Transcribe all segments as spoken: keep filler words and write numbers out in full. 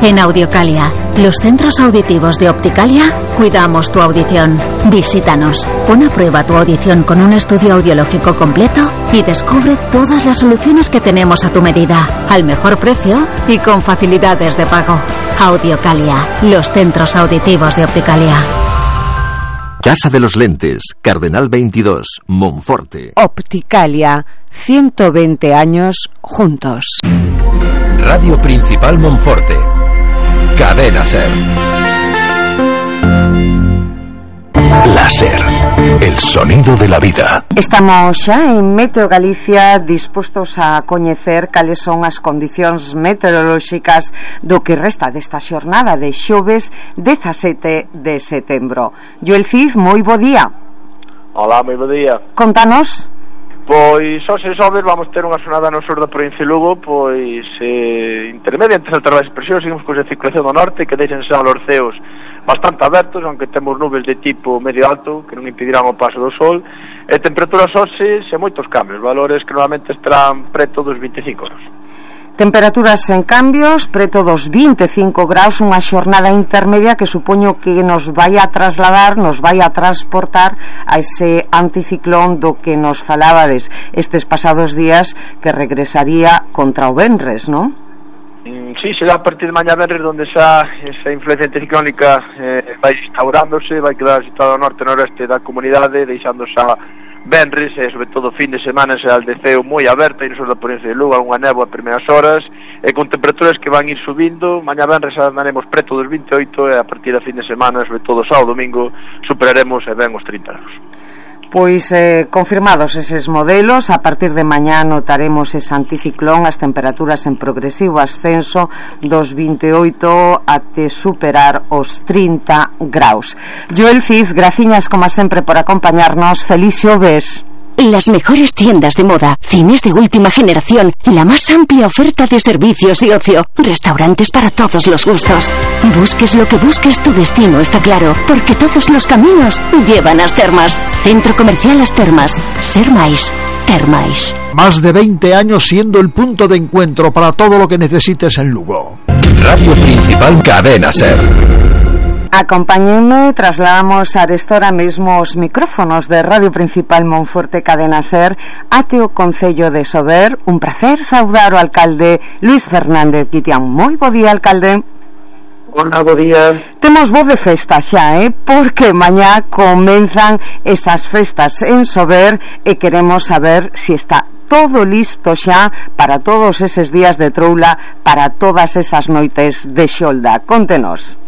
En Audiocalia, los centros auditivos de Opticalia, cuidamos tu audición. Visítanos, pon a prueba tu audición con un estudio audiológico completo y descubre todas las soluciones que tenemos a tu medida, al mejor precio y con facilidades de pago. Audiocalia, los centros auditivos de Opticalia. Casa de los Lentes, Cardenal veintidós, Monforte. Opticalia, ciento veinte años juntos. Radio Principal Monforte. Cadena Ser. Láser, el sonido de la vida. Estamos xa en Meteo Galicia dispostos a coñecer cales son as condicións meteorolóxicas do que resta desta xornada de xoves dezasete de setembro. Joel Cid, moi bo día. Hola, moi bo día. Contanos. Pois, hoxe xoves vamos ter unha xornada no sur da provincia de Lugo, pois, eh, intermedia entre altas baixas presións, seguimos con a circulación do norte, que deixen xa os ceos bastante abertos, aunque temos nubes de tipo medio alto, que non impedirán o paso do sol, e temperaturas hoxe sen moitos cambios, valores que normalmente estarán preto dos vinte e cinco graus. Temperaturas en cambios, preto dos vinte e cinco graus, unha xornada intermedia que supoño que nos vai a trasladar, nos vai a transportar a ese anticiclón do que nos falabades estes pasados días, que regresaría contra o venres, non? Mm, sí, será a partir de mañá venres donde xa esa influencia anticiclónica eh, vai instaurándose, vai quedar situado ao norte e noreste da comunidade, deixando xa venres e sobre todo fin de semana será el deceo moi aberto e no sur da provincia de Lugo, algunha néboa a primeiras horas e con temperaturas que van ir subindo. Mañá venres andaremos preto dos vinte e oito e a partir da fin de semana, sobre todo sábado domingo, superaremos e ben os trinta graus. Pois eh, confirmados eses modelos, a partir de mañá notaremos ese anticiclón, as temperaturas en progresivo ascenso dos vinte e oito até superar os trinta graus. Joel Cid, graciñas como sempre por acompañarnos. Feliz xoves. Las mejores tiendas de moda, cines de última generación, la más amplia oferta de servicios y ocio, restaurantes para todos los gustos. Busques lo que busques, tu destino está claro, porque todos los caminos llevan a As Termas. Centro Comercial As Termas. Ser máis, ter máis. Más de veinte años siendo el punto de encuentro para todo lo que necesites en Lugo. Radio Principal Cadena Ser. Acompáñenme, trasladamos arestora mesmo os micrófonos de Radio Principal Monforte Cadena Ser ate o Concello de Sober. Un placer saudar o alcalde Luis Fernández Guitián. Moi bo día, alcalde. Hola, bo día. Temos voz de festa xa, eh? Porque mañá comenzan esas festas en Sober e queremos saber si está todo listo xa para todos eses días de troula, para todas esas noites de xolda. Contenos.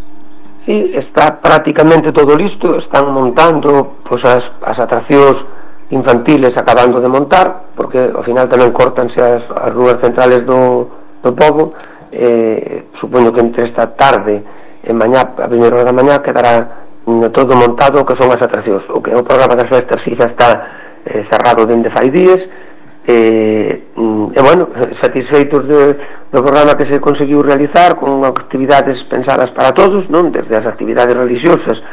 Sí, está prácticamente todo listo, están montando pois, as, as atraccións infantiles acabando de montar, porque ao final tamén cortanse as, as rúas centrales do, do pobo. Eh, supoño que entre esta tarde e mañá, a primeira hora da mañá, quedará todo montado o que son as atraccións. O que é o programa das festas si xa está eh, cerrado dende fai días. E, e bueno, satisfeitos de, do programa que se conseguiu realizar, con actividades pensadas para todos, non? Desde as actividades religiosas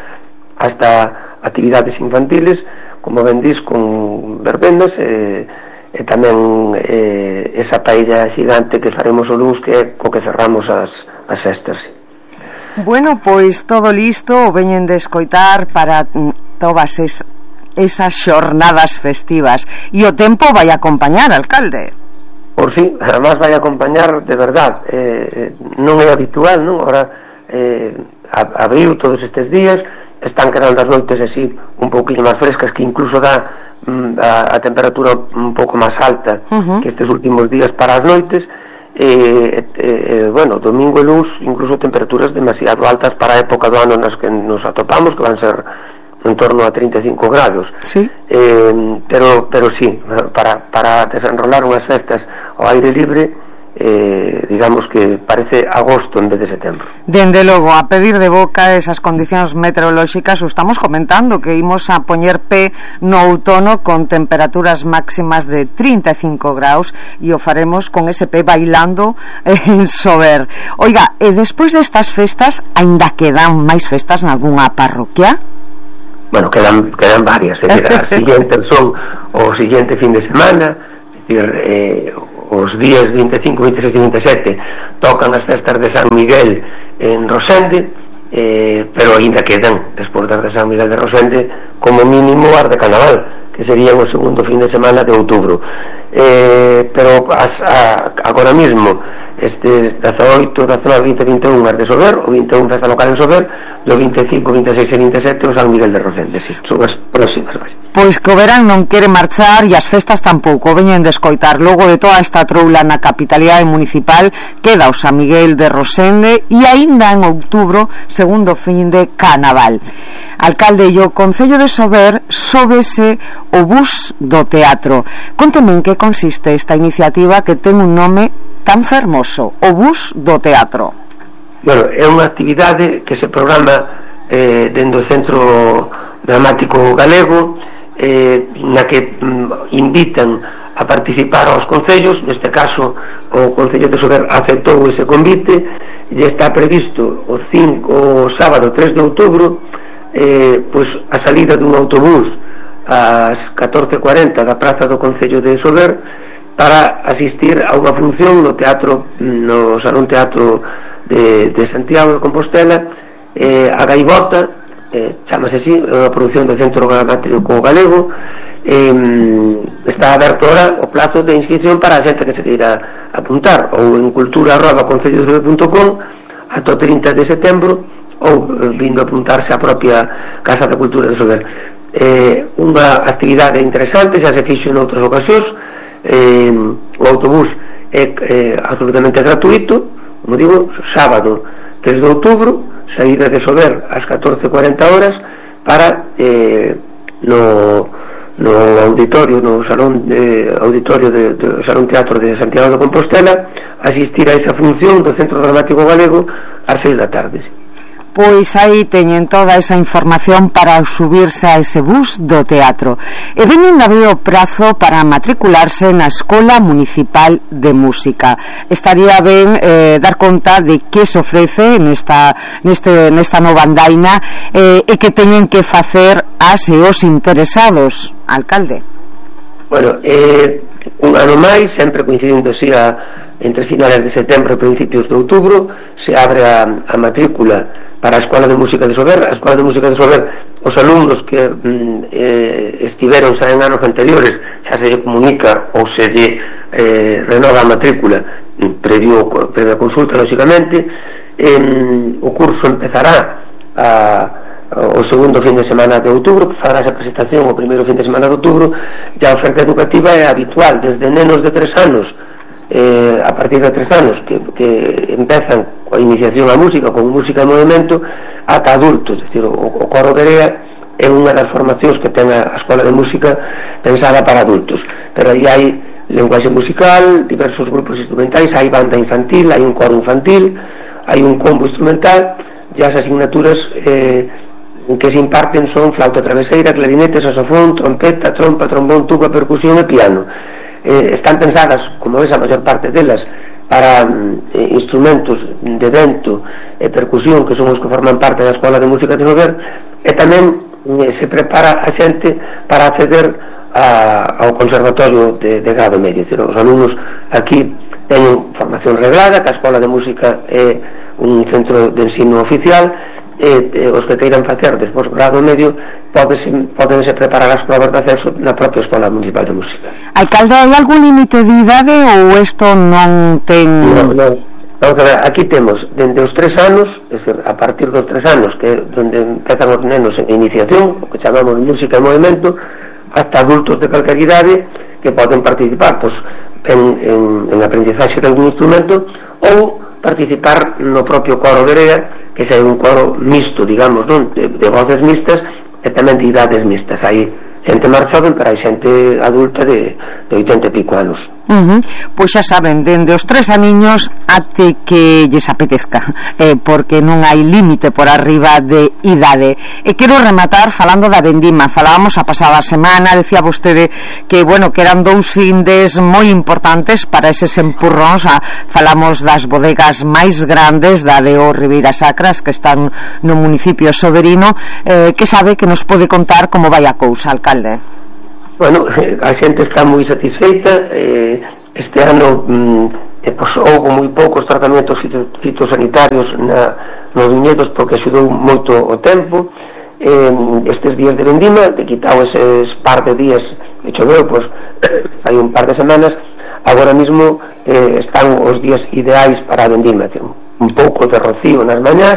hasta actividades infantiles, como ben dis, con verbendas e, e tamén e, esa paella xigante que faremos o luns, que é co que cerramos as, as festas. Bueno, pois todo listo, veñen de escoitar para todas esas esas xornadas festivas, e o tempo vai acompañar, alcalde. Por si, sí, además vai acompañar de verdad, eh, non é habitual, non? Ahora eh, abriu todos estes días, están quedando as noites así un pouquinho máis frescas, que incluso dá mm, a, a temperatura un pouco máis alta uh-huh. que estes últimos días para as noites. E, e, bueno, domingo e luns incluso temperaturas demasiado altas para a época do ano nas que nos atopamos, que van ser en torno a trinta e cinco grados. Sí. Eh, pero pero sí, para para desenrolar unhas festas ao aire libre, eh, digamos que parece agosto en vez de setembro. Dende logo, a pedir de boca esas condicións meteorolóxicas, o estamos comentando que imos a poñer pé no outono con temperaturas máximas de trinta e cinco graus, e o faremos con ese pé bailando en Sober. Oiga, e despois destas festas, aínda quedan máis festas nalgunha parroquia? Bueno, quedan, quedan varias, eh? As siguientes son o siguiente fin de semana, é dicir, eh, os días vinte e cinco, vinte e seis e vinte e sete tocan as festas de San Miguel en Rosende, eh, pero ainda quedan despois das de San Miguel de Rosende como mínimo as de Carnaval, que serían o segundo fin de semana de outubro. Eh, pero as, a, agora mismo este dezaoito, dezanove, vinte, vinte e un as de Sober, o vinte e un festa local en Sober, e o vinte e cinco, vinte e seis e vinte e sete o San Miguel de Rosende, sí, son as próximas. Pois que o verán non quere marchar e as festas tampouco, veñen de escoitar. Logo de toda esta troula na capitalidade municipal queda o San Miguel de Rosende e aínda en outubro segundo fin de Carnaval. Alcalde, e o Concello de Sober sóbese o bus do teatro. Conteme en que consiste esta iniciativa que ten un nome tan fermoso, o bus do teatro. Bueno, é unha actividade que se programa eh, dentro do Centro Dramático Galego, eh, na que mm, invitan a participar aos concellos. Neste caso o Concello de Sober aceptou ese convite e está previsto o, cinco, o sábado tres de outubro eh, pois a salida dun autobús ás catorce e cuarenta da praza do Concello de Sober para asistir a unha función no teatro, no Salón Teatro de, de Santiago de Compostela, eh, a Gaivota, eh, chamase así, unha produción do Centro Dramático Galego. Eh, está aberto ahora o plazo de inscripción para a xente que se queira apuntar, ou en cultura arroba concello de sober punto com ata o trinta de setembro, ou eh, vindo a apuntarse á propia Casa da Cultura de Sober. Eh, unha actividade interesante, xa se fixo en outras ocasións. Eh, o autobús é eh, absolutamente gratuito, como digo, sábado tres de outubro, saída de Sober ás catorce e cuarenta horas para eh, no, no auditorio, no salón de, auditorio de, de Salón Teatro de Santiago de Compostela, asistir a esa función do Centro Dramático Galego ás seis da tarde. Pois aí teñen toda esa información para subirse a ese bus do teatro. E veñen de abrir o prazo para matricularse na Escola Municipal de Música. Estaría ben eh, dar conta de que se ofrece nesta, neste, nesta nova andaina eh, e que teñen que facer as e os interesados. Alcalde. Bueno, eh, un ano máis, sempre coincidindo así a, entre finales de setembro e principios de outubro, se abre a, a matrícula para a Escola de Música de Sober. A Escola de Música de Sober, os alumnos que mm, eh, estiveron xa en anos anteriores, xa se lle comunica ou se lle eh, renova a matrícula previo, previa consulta, lógicamente. Eh, o curso empezará a o segundo fin de semana de outubro, fará esa presentación o primeiro fin de semana de outubro. E a oferta educativa é habitual, desde nenos de tres anos, eh, a partir de tres anos que, que empezan a iniciación á música con música de movimento, ata adultos. Es decir, o, o coro de Rea é unha das formacións que ten a Escola de Música pensada para adultos, pero aí hai lenguaxe musical, diversos grupos instrumentais, hai banda infantil, hai un coro infantil, hai un combo instrumental, e as asignaturas eh, que se imparten son flauta traveseira, clarinete, saxofón, trompeta, trompa, trombón, tuba, percusión e piano. Eh, están pensadas, como ves, a maior parte delas para eh, instrumentos de vento e percusión, que son os que forman parte da Escola de Música de Sober, e tamén eh, se prepara a xente para acceder a, ao Conservatorio de, de grado medio. Decir, os alumnos aquí teñen formación reglada, que a Escola de Música é un centro de ensino oficial, e, e os que queiran facer despois grado medio podense, podense preparar as provas de acceso na propia Escola Municipal de Música. Alcalde, hai algún límite de idade ou isto non ten... Non, non. Vamos a ver, aquí temos dende os tres anos, é dicir, a partir dos tres anos, que é onde empezan os nenos en iniciación, o que chamamos música e movimento, hasta adultos de calquer idade que poden participar pois, en, en, en aprendizaxe de algún instrumento ou participar no propio coro de Rea, que é un coro mixto, digamos, non? De, de voces mixtas e tamén de idades mixtas. Hai xente máis joven, pero hai xente adulta de, de oitenta e pico anos. Uh-huh. Pois xa saben, dende os tres aniños até que lles apetezca, eh, porque non hai límite por arriba de idade. E quero rematar falando da vendima. Falábamos a pasada semana, decía vostede que, bueno, que eran dous findes moi importantes para eses empurróns. Ah, falamos das bodegas máis grandes, da de O Ribeira Sacras, que están no municipio soberino. Eh, que sabe que nos pode contar como vai a cousa, alcalde? Bueno, a xente está moi satisfeita, eh, este ano mm, eh, pois, houve moi poucos tratamentos fitosanitarios na, nos viñedos porque axudou moito o tempo. Eh, estes días de vendima, te quitao eses par de días que choveu, pois hai un par de semanas, agora mismo eh, están os días ideais para a vendima. Ten un pouco de rocío nas mañás,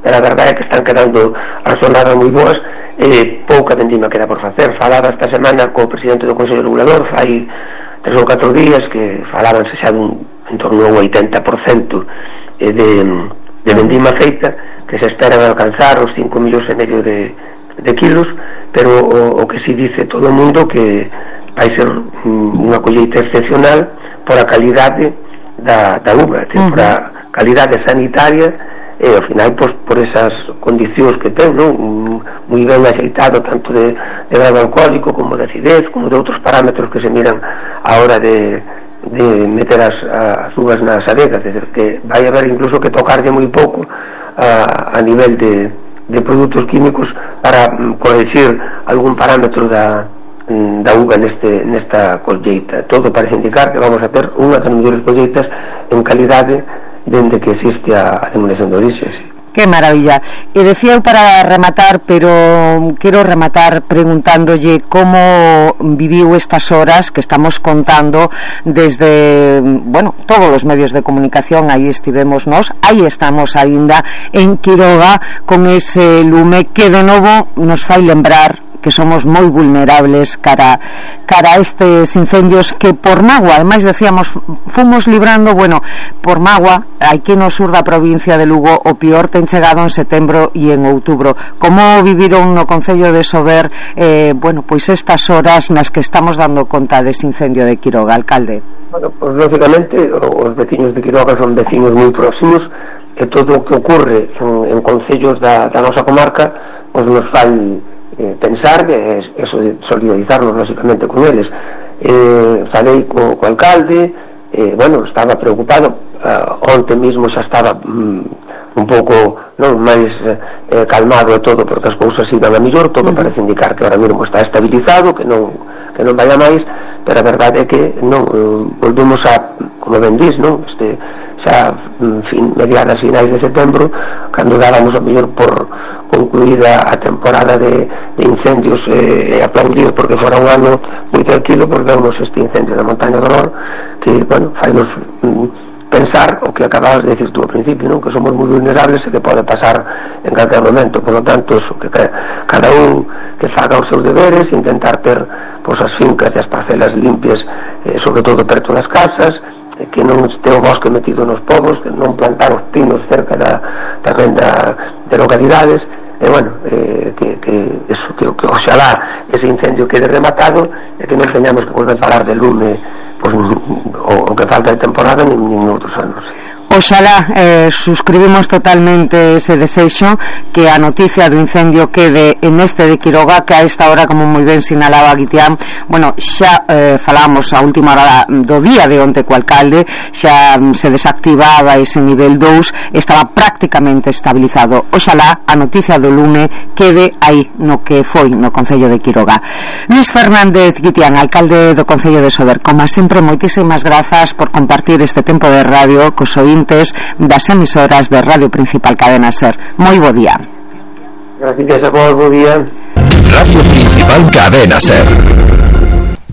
pero a verdade é que están quedando as jornadas moi boas, eh, pouca vendima queda por facer. Falaba esta semana co presidente do Consello Regulador, fai tres ou catro días que falabanse xa dun en torno ao oitenta por cento de, de vendima feita, que se esperan alcanzar os cinco millóns e medio de, de kilos, pero o, o que si dice todo o mundo que vai ser unha colleita excepcional por a calidade da, da uva, uh-huh. por a calidade sanitaria e ao final pois, por esas condicións que ten, non? Moi ben axeitado tanto de, de grado alcohólico como de acidez, como de outros parámetros que se miran a hora de, de meter as, as uvas nas adegas, é dizer, que vai haber incluso que tocarlle moi pouco a, a nivel de, de produtos químicos para um, corregir algún parámetro da, da uva neste, nesta colleita. Todo parece indicar que vamos a ter unha das mellores colleitas en calidade dende que existe a denominación de orixe. Qué maravilla. E decía eu para rematar, pero quero rematar preguntándolle como viviu estas horas que estamos contando desde, bueno, todos os medios de comunicación. Aí estivemos nós, aí estamos aínda en Quiroga con ese lume que de novo nos fai lembrar que somos moi vulnerables cara cara a estes incendios que por magua, ademais decíamos, fomos librando, bueno, por magua, aquí no sur da provincia de Lugo, o pior ten chegado en setembro e en outubro. Como viviron no concello de Sober, eh, bueno, pois estas horas nas que estamos dando conta dese incendio de Quiroga, alcalde? Bueno, pois lógicamente os veciños de Quiroga son veciños moi próximos e todo o que ocurre en, en concellos da, da nosa comarca pois nos fai Eh, pensar que é eso de solidarizarnos lógicamente con eles. eh, falei co, co alcalde, eh, bueno, estaba preocupado, uh, onte mismo xa estaba mm, un pouco non máis eh, calmado e todo porque as cousas iban a mellor, todo uh-huh. parece indicar que ahora mesmo está estabilizado, que non que non vaya máis, pero a verdade é que non eh, volvemos a, como ben dis, non? Este, xa en fin, mediadas finais de setembro, cando dábamos a mellor por concluída a temporada de, de incendios e eh, aplaudir porque fora un ano moi tranquilo, porque vemos este incendio da Montaña do Nor que, bueno, fainos mm, pensar o que acababas de decir tú ao principio, non? Que somos moi vulnerables e que pode pasar en calquer momento. Por lo tanto, eso, que cada un que faga os seus deberes, intentar ter pois, as fincas e as parcelas limpias, eh, sobre todo perto das casas, que non este o bosque metido nos povos, que non plantar os pinos cerca da, tamén da, de localidades, e bueno, eh, que, que eso, que, que oxalá ese incendio quede rematado e que non teñamos que volver a falar de lume pues, o, o que falta de temporada nin, nin outros anos. Oxalá, eh, suscribimos totalmente ese desexo, que a noticia do incendio quede en este de Quiroga, que a esta hora, como moi ben sinalaba Guitián, bueno, xa eh, falamos a última hora do día de onte co alcalde, xa se desactivaba ese nivel dous, estaba prácticamente estabilizado. Oxalá a noticia do lume quede aí no que foi no concello de Quiroga. Luis Fernández Guitián, alcalde do concello de Sober, como sempre, moitísimas grazas por compartir este tempo de radio cos oíntes das emisoras de Radio Principal Cadena Ser. Moi bo día. Gracias a vos, bo día. Radio Principal Cadena Ser.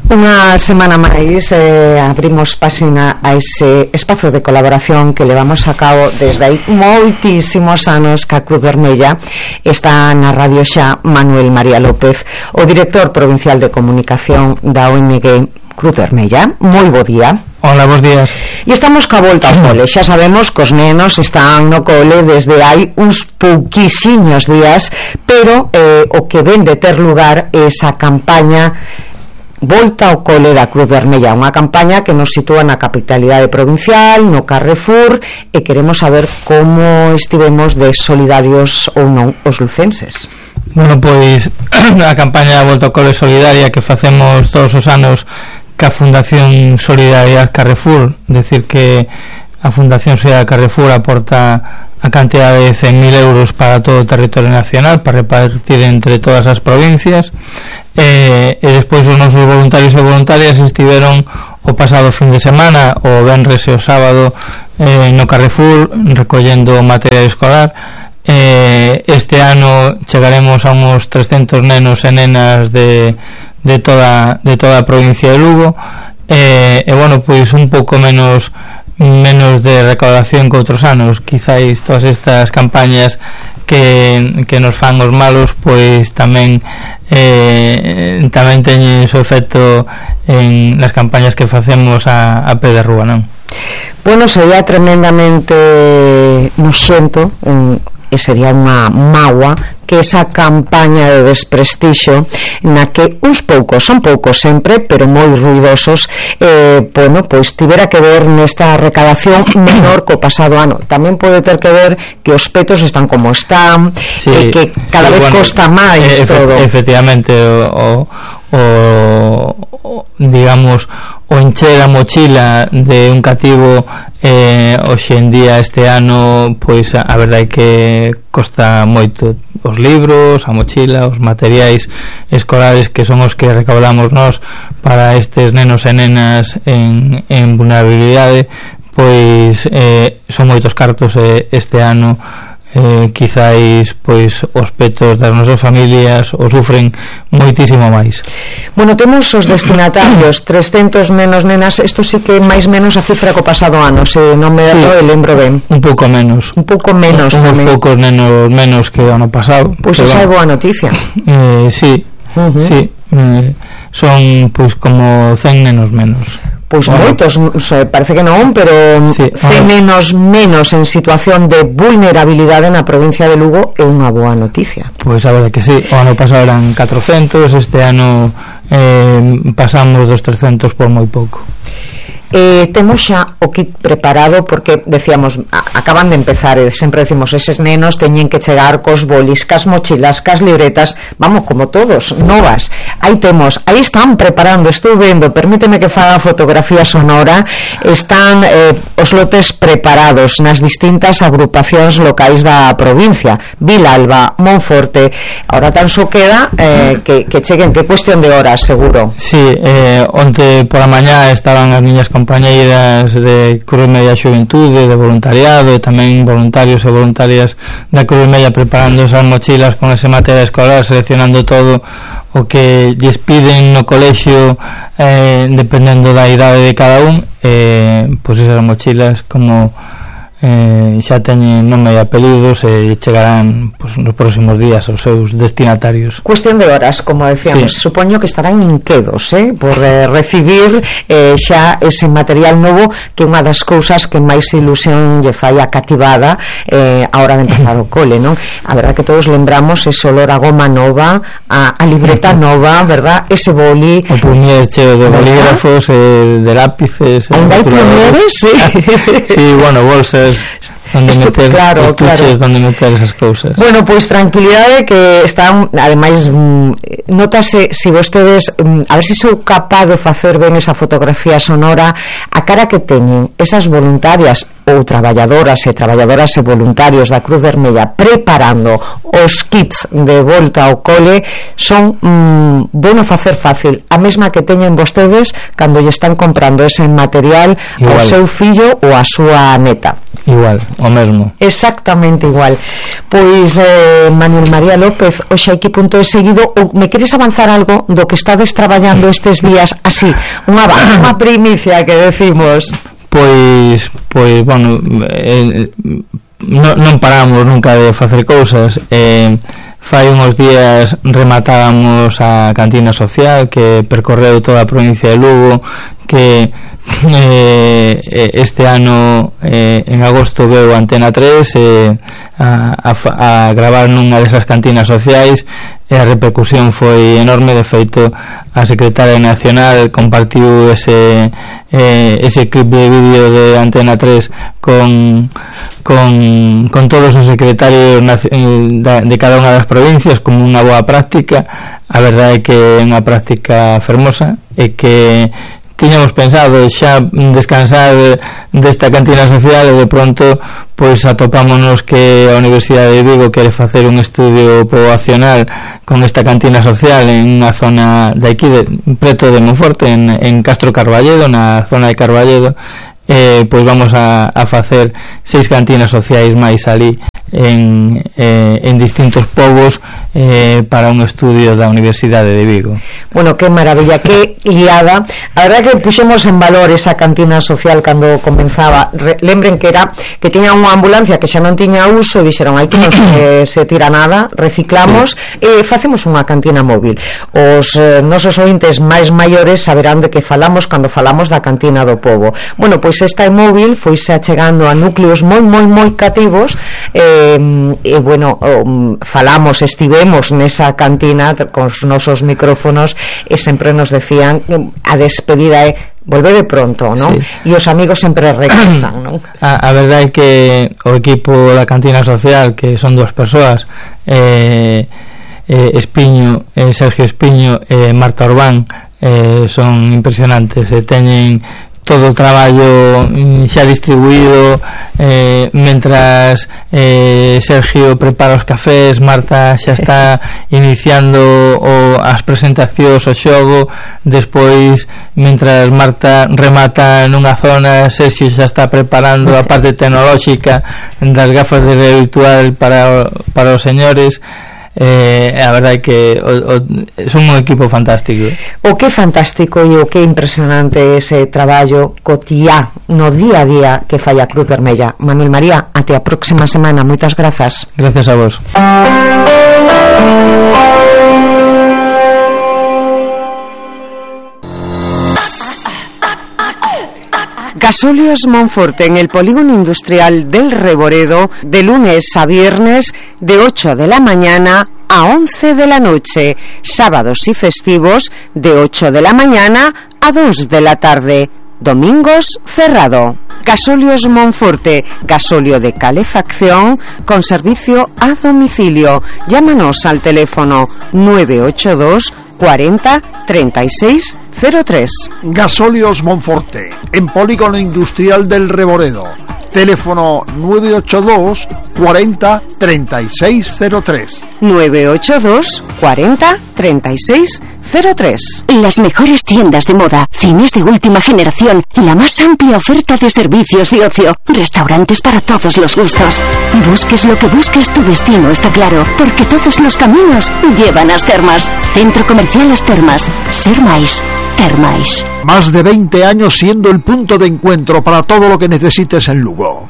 Unha semana máis eh, abrimos páxina a ese espazo de colaboración que levamos a cabo desde aí moitísimos anos ca Cruz Vermella. Está na radio xa Manuel María López, o director provincial de comunicación da O N G Cruz Vermella. Moi bo día. Hola, bons días. E estamos ca volta ao cole. Xa sabemos que os nenos están no cole desde hai uns pouquixiños días, pero eh, o que ven de ter lugar é esa campaña Volta ao cole da Cruz Vermella, unha campaña que nos sitúa na capitalidade provincial, no Carrefour, e queremos saber como estivemos de solidarios ou non os lucenses. Bueno, pois a campaña Volta ao cole solidaria que facemos todos os anos ca Fundación Solidaridade Carrefour, decir que a Fundación Solidaridade Carrefour aporta a cantidad de cen mil euros para todo o territorio nacional para repartir entre todas as provincias, e, e despois os nosos voluntarios e voluntarias estiveron o pasado fin de semana, o venres e o sábado, eh, no Carrefour recollendo material escolar. Eh, este ano chegaremos a uns trescentos nenos e nenas de, de toda de toda a provincia de Lugo, eh, e bueno, pois un pouco menos menos de recaudación que outros anos. Quizáis todas estas campañas que, que nos fan os malos, pois tamén eh, tamén teñen o efecto en las campañas que facemos a, a pé de rúa, non? Bueno, sería tremendamente noxento, e sería unha mágoa que esa campaña de desprestixio na que uns poucos, son poucos sempre, pero moi ruidosos, eh, bueno, pois tivera que ver nesta recadación menor co pasado ano. Tamén pode ter que ver que os petos están como están, sí, e que cada sí, vez bueno, costa máis eh, todo. Efectivamente, o, o, o digamos o encher a mochila de un cativo eh, hoxe en día este ano, pois a, a verdade é que costa moito. Os libros, a mochila, os materiais escolares que son os que recaudamos nós para estes nenos e nenas en, en vulnerabilidade, pois eh, son moitos cartos e este ano eh, quizáis pois os petos das nosas familias o sufren moitísimo máis. Bueno, temos os destinatarios trescentos nenos nenas, isto sí que máis menos a cifra co pasado ano, se non me sí, erro, lembro ben. Un pouco menos. Un pouco menos un, tamén. Un poucos nenos menos que o ano pasado. Pois pues esa é boa noticia. Eh, sí, uh-huh. sí. Eh, son pois como cen nenos menos. Pois bueno, moitos, parece que non, pero sí, cen nenos menos en situación de vulnerabilidade na provincia de Lugo é unha boa noticia. Pois a verdade que sí, o ano pasado eran catrocentos, este ano eh, pasamos dos trescentos por moi pouco. Eh, temos xa o kit preparado porque decíamos, a, acaban de empezar e sempre decimos, eses nenos teñen que chegar cos bolis, cas mochilas, cas libretas, vamos, como todos, novas. Aí temos, aí están preparando, estou vendo, permíteme que faga fotografía sonora, están eh, os lotes preparados nas distintas agrupacións locais da provincia, Vilalba, Monforte. Ahora tan só queda eh, que, que cheguen, que cuestión de horas, seguro. Sí, eh, onte por a mañá estaban as niñas compañeiras de Cruz Media Xuventude, de voluntariado, e tamén voluntarios e voluntarias da Cruz Media preparando esas mochilas con ese material escolar, seleccionando todo o que lles piden no colexio, eh, dependendo da idade de cada un, eh, pois esas mochilas como eh, xa teñen nome e apelidos e chegarán pois, nos próximos días aos seus destinatarios. Cuestión de horas, como decíamos, sí. Supoño que estarán inquedos eh, por eh, recibir eh, xa ese material novo, que é unha das cousas que máis ilusión lle fai a cativada eh, a hora de empezar o cole, non? A verdad que todos lembramos ese olor a goma nova, a, a libreta nova, verdad? Ese boli, o puñer cheo de bolígrafos, eh, de lápices, ainda hai puñeres, sí. Sí, bueno, bolsas donde Esto, meter, claro, claro. donde meter esas cousas. Bueno, pois pues, tranquilidade que están, ademais mm, notase, se si vostedes mm, a ver se si sou capaz de facer ben esa fotografía sonora, a cara que teñen esas voluntarias ou traballadoras e traballadoras e voluntarios da Cruz Vermella preparando os kits de volta ao cole, son mm, bueno facer fácil, a mesma que teñen vostedes cando lle están comprando ese material igual ao seu fillo ou a súa neta. Igual, o mesmo. Exactamente igual. Pois eh, Manuel María López, hoxe aquí punto de seguido, ou me queres avanzar algo do que estades traballando estes días así, unha, unha primicia que decimos? Pois, pois, bueno, eh, non, non paramos nunca de facer cousas. Eh, fai uns días rematábamos a cantina social que percorreu toda a provincia de Lugo, que eh, este ano eh, en agosto veu Antena tres eh, a, a, a gravar nunha desas cantinas sociais, e a repercusión foi enorme. De feito, a secretaria nacional compartiu ese eh, ese clip de vídeo de Antena tres con con, con todos os secretarios de cada unha das provincias como unha boa práctica. A verdade é que é unha práctica fermosa e que tiñamos pensado xa descansar desta cantina social, e de pronto pois atopámonos que a Universidade de Vigo quere facer un estudio poboacional con esta cantina social en unha zona de aquí, de, preto de Monforte, en, en Castro Carballedo, na zona de Carballedo. Eh, pois vamos a, a facer seis cantinas sociais máis ali en, eh, en distintos povos eh, para un estudio da Universidade de Vigo. Bueno, que maravilla, que liada. A verdade que puxemos en valor esa cantina social cando comenzaba. Re, lembren que era que tiña unha ambulancia que xa non tiña uso e dixeron, hai que non se, se tira nada, reciclamos e facemos unha cantina móvil. Os eh, nosos ointes máis maiores saberán de que falamos cando falamos da cantina do pobo. Bueno, pois esta é móvil, foise achegando a núcleos moi, moi, moi cativos e, e bueno, um, falamos, estivemos nesa cantina con os nosos micrófonos e sempre nos decían a despedida é volvede pronto, ¿no? Sí. E os amigos sempre regresan, ¿no? A, a verdade é que o equipo da cantina social, que son dúas persoas, eh, eh, Espiño, eh, Sergio Espiño e eh, Marta Orbán, eh, son impresionantes e teñen todo o traballo xa distribuído, eh, mentras eh, Sergio prepara os cafés, Marta xa está iniciando o, as presentacións, o xogo, despois mentras Marta remata nunha zona, Sergio xa está preparando a parte tecnolóxica das gafas de realidade virtual para, para os señores. Eh, a verdade é que o, o, son un equipo fantástico. O que fantástico e o que impresionante ese traballo cotiá no día a día que fai a Cruz Vermella. Manuel María, até a próxima semana. Moitas grazas. Gracias a vos. Gasóleos Monforte en el polígono industrial del Reboredo, de lunes a viernes de ocho de la mañana a once de la noche, sábados y festivos de ocho de la mañana a dos de la tarde, domingos cerrado. Gasóleos Monforte, gasóleo de calefacción con servicio a domicilio. Llámanos al teléfono nueve ocho dos cuarenta treinta y seis cero tres. Gasóleos Monforte, en polígono industrial del Reboredo. Teléfono nueve ocho dos cuarenta treinta y seis cero tres. nueve ocho dos cuarenta treinta y seis cero tres. Las mejores tiendas de moda, cines de última generación, la más amplia oferta de servicios y ocio, restaurantes para todos los gustos. Busques lo que busques, tu destino está claro, porque todos los caminos llevan a As Termas. Centro Comercial As Termas. Ser máis, ter máis. Más de veinte años siendo el punto de encuentro para todo lo que necesites en Lugo.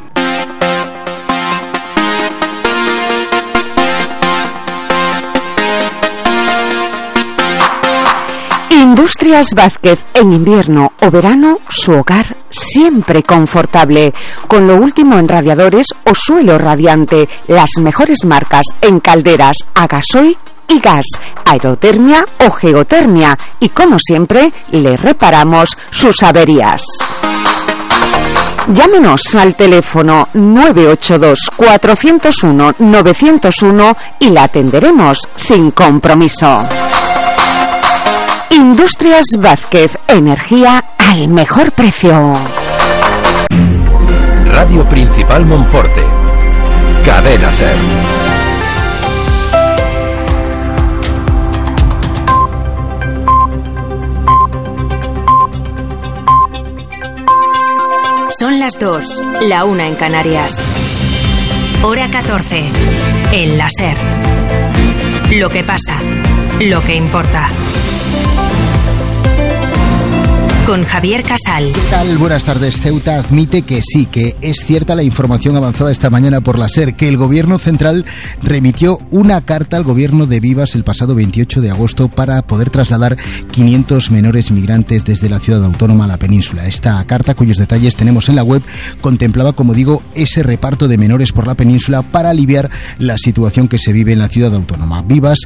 Industrias Vázquez, en invierno o verano, su hogar siempre confortable. Con lo último en radiadores o suelo radiante, las mejores marcas en calderas a gasoil y gas, aerotermia o geotermia. Y como siempre, le reparamos sus averías. Llámenos al teléfono nueve ocho dos cuatro cero uno nueve cero uno y la atenderemos sin compromiso. Industrias Vázquez, energía al mejor precio. Radio Principal Monforte. Cadena Ser. Son las dos, la una en Canarias. Hora catorce, en la Ser. Lo que pasa, lo que importa. Con Javier Casal. ¿Qué tal? Buenas tardes. Ceuta admite que sí, que es cierta la información avanzada esta mañana por la SER, que el Gobierno Central remitió una carta al Gobierno de Vivas el pasado veintiocho de agosto para poder trasladar quinientos menores migrantes desde la ciudad autónoma a la península. Esta carta, cuyos detalles tenemos en la web, contemplaba, como digo, ese reparto de menores por la península para aliviar la situación que se vive en la ciudad autónoma. Vivas,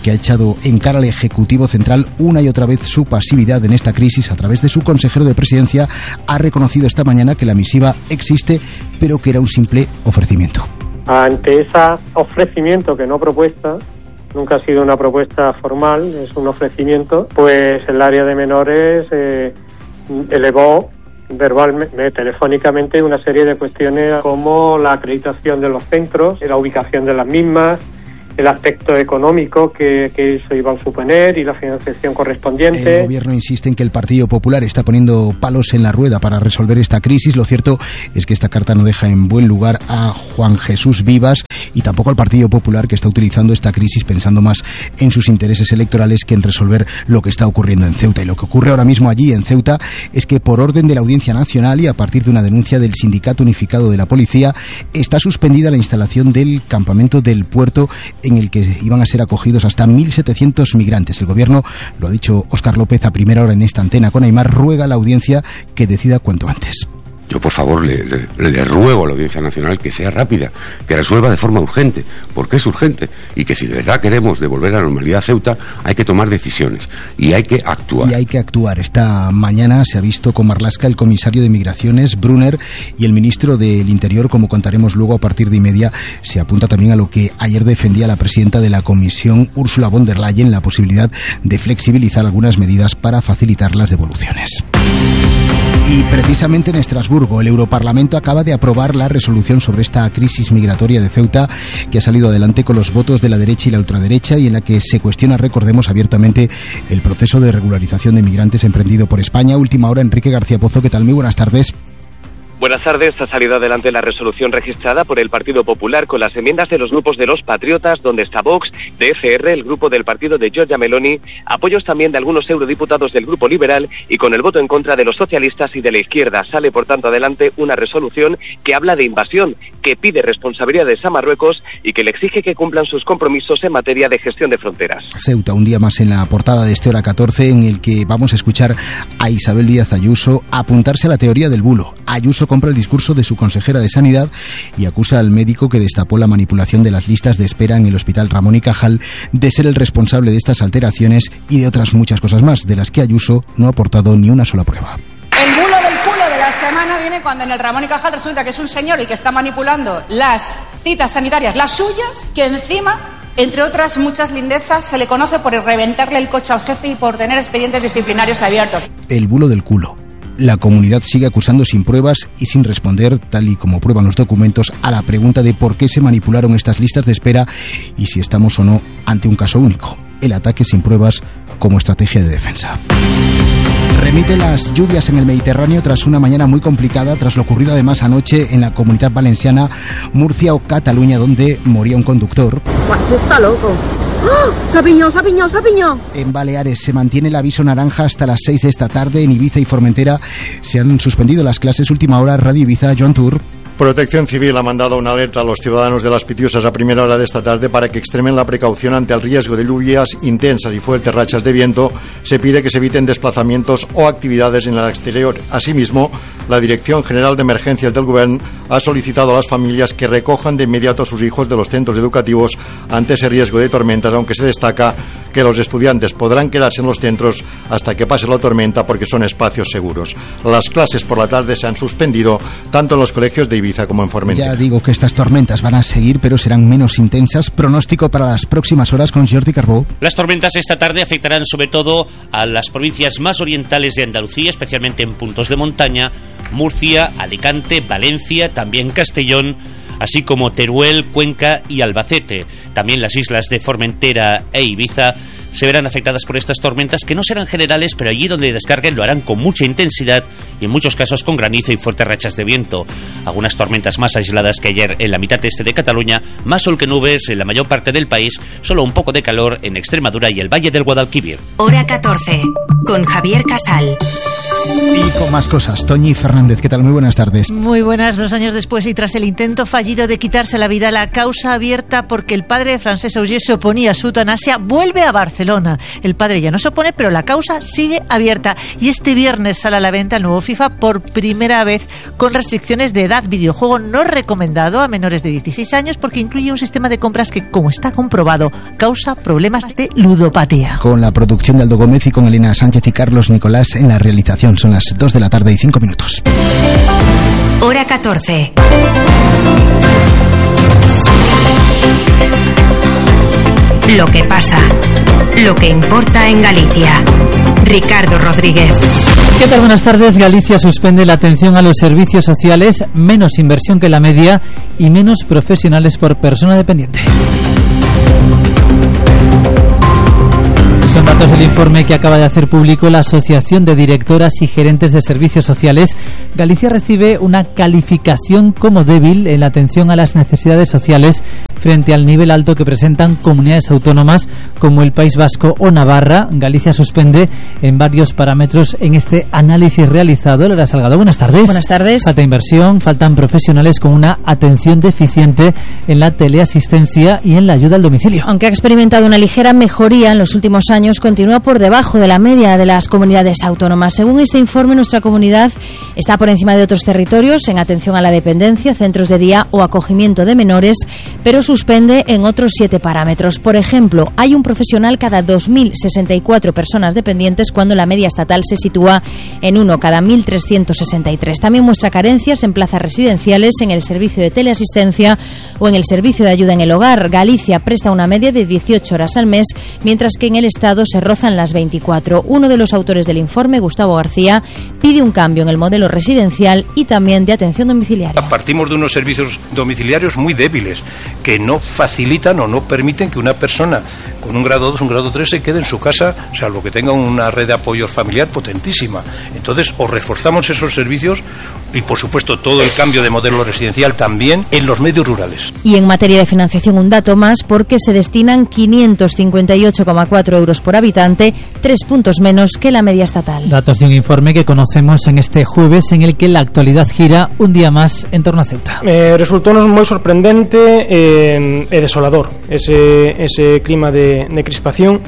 que ha echado en cara al Ejecutivo Central una y otra vez su pasividad en esta crisis a través de su consejero de presidencia, ha reconocido esta mañana que la misiva existe, pero que era un simple ofrecimiento. Ante ese ofrecimiento, que no propuesta, nunca ha sido una propuesta formal, es un ofrecimiento, pues el área de menores eh, elevó verbalmente, telefónicamente, una serie de cuestiones como la acreditación de los centros, la ubicación de las mismas, el aspecto económico que, que eso iba a suponer y la financiación correspondiente. El gobierno insiste en que el Partido Popular está poniendo palos en la rueda para resolver esta crisis. Lo cierto es que esta carta no deja en buen lugar a Juan Jesús Vivas y tampoco al Partido Popular, que está utilizando esta crisis pensando más en sus intereses electorales que en resolver lo que está ocurriendo en Ceuta. Y lo que ocurre ahora mismo allí en Ceuta es que, por orden de la Audiencia Nacional y a partir de una denuncia del Sindicato Unificado de la Policía, está suspendida la instalación del campamento del puerto en el que iban a ser acogidos hasta mil setecientos migrantes. El gobierno, lo ha dicho Óscar López a primera hora en esta antena con Aimar, ruega a la audiencia que decida cuanto antes. Yo, por favor, le, le, le ruego a la Audiencia Nacional que sea rápida, que resuelva de forma urgente, porque es urgente, y que si de verdad queremos devolver la normalidad a Ceuta, hay que tomar decisiones y hay que actuar. Y hay que actuar. Esta mañana se ha visto con Marlaska el comisario de Migraciones, Brunner, y el ministro del Interior, como contaremos luego a partir de y media. Se apunta también a lo que ayer defendía la presidenta de la Comisión, Ursula von der Leyen, la posibilidad de flexibilizar algunas medidas para facilitar las devoluciones. Y precisamente en Estrasburgo, el Europarlamento acaba de aprobar la resolución sobre esta crisis migratoria de Ceuta, que ha salido adelante con los votos de la derecha y la ultraderecha, y en la que se cuestiona, recordemos, abiertamente el proceso de regularización de migrantes emprendido por España. Última hora, Enrique García Pozo, ¿qué tal? Muy buenas tardes. Buenas tardes. Ha salido adelante la resolución registrada por el Partido Popular con las enmiendas de los grupos de los Patriotas, donde está Vox, de F R, el grupo del partido de Giorgia Meloni, apoyos también de algunos eurodiputados del Grupo Liberal y con el voto en contra de los socialistas y de la izquierda. Sale, por tanto, adelante una resolución que habla de invasión, que pide responsabilidades a Marruecos y que le exige que cumplan sus compromisos en materia de gestión de fronteras. Ceuta, un día más en la portada de este Hora catorce, en el que vamos a escuchar a Isabel Díaz Ayuso apuntarse a la teoría del bulo. Ayuso compra el discurso de su consejera de Sanidad y acusa al médico que destapó la manipulación de las listas de espera en el Hospital Ramón y Cajal de ser el responsable de estas alteraciones y de otras muchas cosas más, de las que Ayuso no ha aportado ni una sola prueba. El bulo del culo de la semana viene cuando en el Ramón y Cajal resulta que es un señor el que está manipulando las citas sanitarias, las suyas, que encima, entre otras muchas lindezas, se le conoce por reventarle el coche al jefe y por tener expedientes disciplinarios abiertos. El bulo del culo. La comunidad sigue acusando sin pruebas y sin responder, tal y como prueban los documentos, a la pregunta de por qué se manipularon estas listas de espera y si estamos o no ante un caso único. El ataque sin pruebas como estrategia de defensa. Remite las lluvias en el Mediterráneo tras una mañana muy complicada, tras lo ocurrido además anoche en la Comunidad Valenciana, Murcia o Cataluña, donde moría un conductor. Pues está loco. ¡Oh! ¡Se ha piñado, se ha piñado, se ha piñado! En Baleares se mantiene el aviso naranja hasta las seis de esta tarde. En Ibiza y Formentera se han suspendido las clases. Última hora, Radio Ibiza, Joan Tour. Protección Civil ha mandado una alerta a los ciudadanos de Las Pitiusas a primera hora de esta tarde para que extremen la precaución ante el riesgo de lluvias intensas y fuertes rachas de viento. Se pide que se eviten desplazamientos o actividades en el exterior. Asimismo, la Dirección General de Emergencias del Gobierno ha solicitado a las familias que recojan de inmediato a sus hijos de los centros educativos ante ese riesgo de tormentas, aunque se destaca que los estudiantes podrán quedarse en los centros hasta que pase la tormenta porque son espacios seguros. Las clases por la tarde se han suspendido tanto en los colegios de Ibiza como en Formentera. Ya digo que estas tormentas van a seguir, pero serán menos intensas. Pronóstico para las próximas horas con Jordi Carbó. Las tormentas esta tarde afectarán sobre todo a las provincias más orientales de Andalucía, especialmente en puntos de montaña: Murcia, Alicante, Valencia, también Castellón, así como Teruel, Cuenca y Albacete. También las islas de Formentera e Ibiza se verán afectadas por estas tormentas, que no serán generales, pero allí donde descarguen lo harán con mucha intensidad y en muchos casos con granizo y fuertes rachas de viento. Algunas tormentas más aisladas que ayer en la mitad este de Cataluña, más sol que nubes en la mayor parte del país, solo un poco de calor en Extremadura y el Valle del Guadalquivir. Hora catorce, con Javier Casal. Y con más cosas, Toñi Fernández, ¿qué tal? Muy buenas tardes. Muy buenas. Dos años después y tras el intento fallido de quitarse la vida, la causa abierta porque el padre de Francesc Auger se oponía a su eutanasia vuelve a Barcelona. El padre ya no se opone, pero la causa sigue abierta. Y este viernes sale a la venta el nuevo FIFA por primera vez con restricciones de edad. Videojuego no recomendado a menores de dieciséis años porque incluye un sistema de compras que, como está comprobado, causa problemas de ludopatía. Con la producción de Aldo Gómez y con Elena Sánchez y Carlos Nicolás en la realización. Son las dos de la tarde y cinco minutos. Hora catorce. Lo que pasa, lo que importa en Galicia. Ricardo Rodríguez. ¿Qué tal? Buenas tardes. Galicia suspende la atención a los servicios sociales, menos inversión que la media y menos profesionales por persona dependiente. Son datos del informe que acaba de hacer público la Asociación de Directoras y Gerentes de Servicios Sociales. Galicia recibe una calificación como débil en la atención a las necesidades sociales frente al nivel alto que presentan comunidades autónomas como el País Vasco o Navarra. Galicia suspende en varios parámetros en este análisis realizado. Lola Salgado, buenas tardes. Buenas tardes. Falta inversión, faltan profesionales con una atención deficiente en la teleasistencia y en la ayuda al domicilio. Aunque ha experimentado una ligera mejoría en los últimos años, continúa por debajo de la media de las comunidades autónomas. Según este informe, nuestra comunidad está por encima de otros territorios en atención a la dependencia, centros de día o acogimiento de menores, pero suspende en otros siete parámetros. Por ejemplo, hay un profesional cada dos mil sesenta y cuatro personas dependientes, cuando la media estatal se sitúa en uno cada mil trescientos sesenta y tres. También muestra carencias en plazas residenciales, en el servicio de teleasistencia o en el servicio de ayuda en el hogar. Galicia presta una media de dieciocho horas al mes, mientras que en el Estado se rozan las veinticuatro. Uno de los autores del informe, Gustavo García, pide un cambio en el modelo residencial y también de atención domiciliaria. Partimos de unos servicios domiciliarios muy débiles, que no facilitan o no permiten que una persona con un grado dos, un grado tres se quede en su casa, salvo que tenga una red de apoyo familiar potentísima. Entonces, o reforzamos esos servicios y, por supuesto, todo el cambio de modelo residencial también en los medios rurales. Y en materia de financiación, un dato más, porque se destinan quinientos cincuenta y ocho coma cuatro euros por habitante, tres puntos menos que la media estatal. Datos de un informe que conocemos en este jueves, en el que la actualidad gira un día más en torno a Ceuta. Eh, resultounos moi sorprendente e eh, desolador ese, ese clima de, de crispación,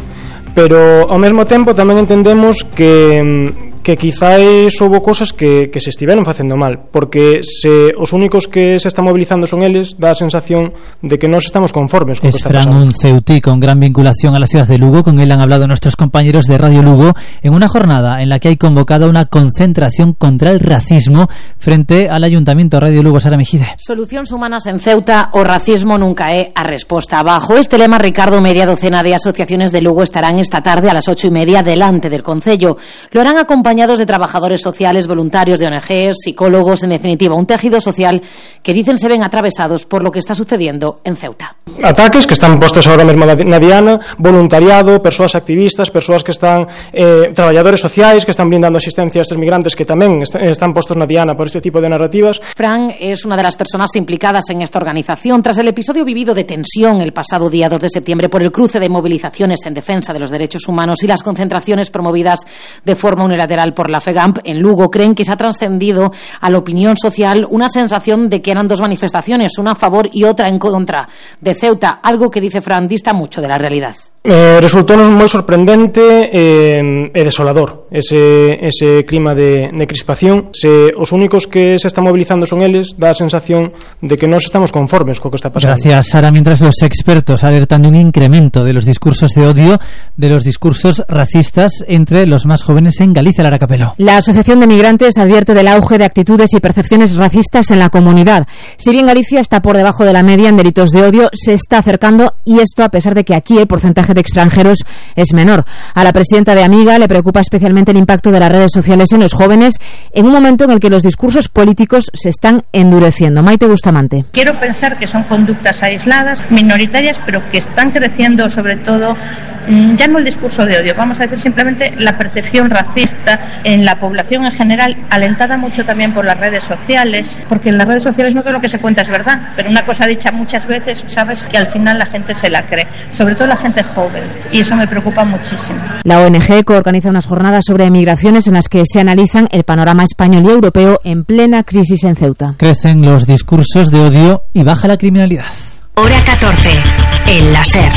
pero ao mesmo tempo tamén entendemos que que quizáis houbo cosas que, que se estiveron facendo mal, porque se os únicos que se están movilizando son eles, dá a sensación de que non estamos conformes con o que está pasando. Es Fran, un ceutí con gran vinculación a la ciudad de Lugo. Con él han hablado nuestros compañeros de Radio Lugo en una jornada en la que hay convocada una concentración contra el racismo frente al Ayuntamiento. Radio Lugo, Sara Mejide. Solucións humanas en Ceuta, o racismo nunca é a resposta. Bajo este lema, Ricardo, media docena de asociaciones de Lugo estarán esta tarde a las ocho y media delante del Concello. Lo harán acompañados de trabajadores sociales, voluntarios de O N Ges, psicólogos, en definitiva, un tejido social que dicen se ven atravesados por lo que está sucediendo en Ceuta. Ataques que están postos ahora mesmo na Diana, voluntariado, persoas activistas, persoas que están eh, traballadores sociais que están brindando asistencia a estes migrantes que tamén est están postos na Diana por este tipo de narrativas. Fran es una de las personas implicadas en esta organización tras el episodio vivido de tensión el pasado día dos de septiembre por el cruce de movilizaciones en defensa de los derechos humanos y las concentraciones promovidas de forma unilateral por la FEGAMP en Lugo. Creen que se ha trascendido a la opinión social una sensación de que eran dos manifestaciones, una a favor y otra en contra de Ceuta, algo que, dice Fran, dista mucho de la realidad. Eh, resultounos moi sorprendente e, e desolador ese, ese clima de, de crispación. Se os únicos que se están movilizando son eles, dá a sensación de que non estamos conformes co que está pasando. Gracias, Sara. Mientras los expertos alertan de un incremento de los discursos de odio, de los discursos racistas entre los más jóvenes en Galicia. Lara Capelo. La Asociación de Migrantes advierte del auge de actitudes y percepciones racistas en la comunidad. Si bien Galicia está por debajo de la media en delitos de odio, se está acercando, y esto a pesar de que aquí el porcentaje de extranjeros es menor. A la presidenta de Amiga le preocupa especialmente el impacto de las redes sociales en los jóvenes en un momento en el que los discursos políticos se están endureciendo. Maite Bustamante. Quiero pensar que son conductas aisladas, minoritarias, pero que están creciendo sobre todo, ya no el discurso de odio, vamos a decir simplemente la percepción racista en la población en general, alentada mucho también por las redes sociales, porque en las redes sociales no todo lo que se cuenta es verdad, pero una cosa dicha muchas veces, sabes que al final la gente se la cree, sobre todo la gente joven, y eso me preocupa muchísimo. La O N G coorganiza unas jornadas sobre migraciones en las que se analizan el panorama español y europeo en plena crisis en Ceuta. Crecen los discursos de odio y baja la criminalidad. Hora catorce, el láser.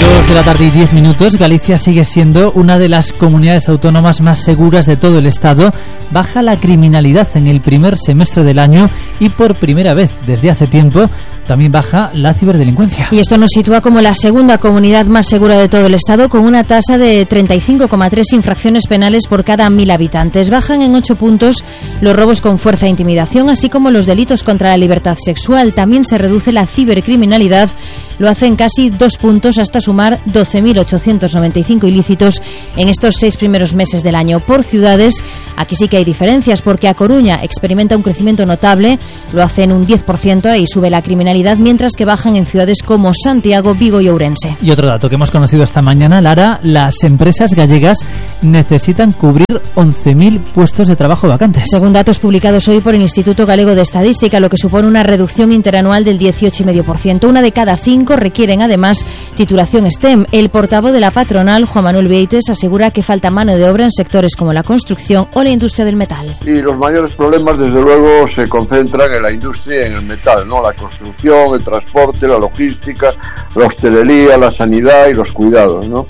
Dos de la tarde y diez minutos. Galicia sigue siendo una de las comunidades autónomas más seguras de todo el Estado. Baja la criminalidad en el primer semestre del año y por primera vez desde hace tiempo también baja la ciberdelincuencia. Y esto nos sitúa como la segunda comunidad más segura de todo el Estado, con una tasa de treinta y cinco coma tres infracciones penales por cada mil habitantes. Bajan en ocho puntos los robos con fuerza e intimidación, así como los delitos contra la libertad sexual. También se reduce la cibercriminalidad, lo hacen casi dos puntos hasta sumar doce mil ochocientos noventa y cinco ilícitos en estos seis primeros meses del año. Por ciudades, aquí sí que hay diferencias, porque A Coruña experimenta un crecimiento notable, lo hace en un diez por ciento y sube la criminalidad, mientras que bajan en ciudades como Santiago, Vigo y Ourense. Y otro dato que hemos conocido esta mañana, Lara, las empresas gallegas necesitan cubrir once mil puestos de trabajo vacantes. Según datos publicados hoy por el Instituto Galego de Estadística, lo que supone una reducción interanual del dieciocho coma cinco por ciento. Una de cada cinco requieren además titulación STEM. El portavoz de la patronal, Juan Manuel Vieites, asegura que falta mano de obra en sectores como la construcción o la industria del metal. Y los mayores problemas, desde luego, se concentran en la industria y en el metal, ¿no? La construcción, el transporte, la logística, la hostelería, la sanidad y los cuidados, ¿no?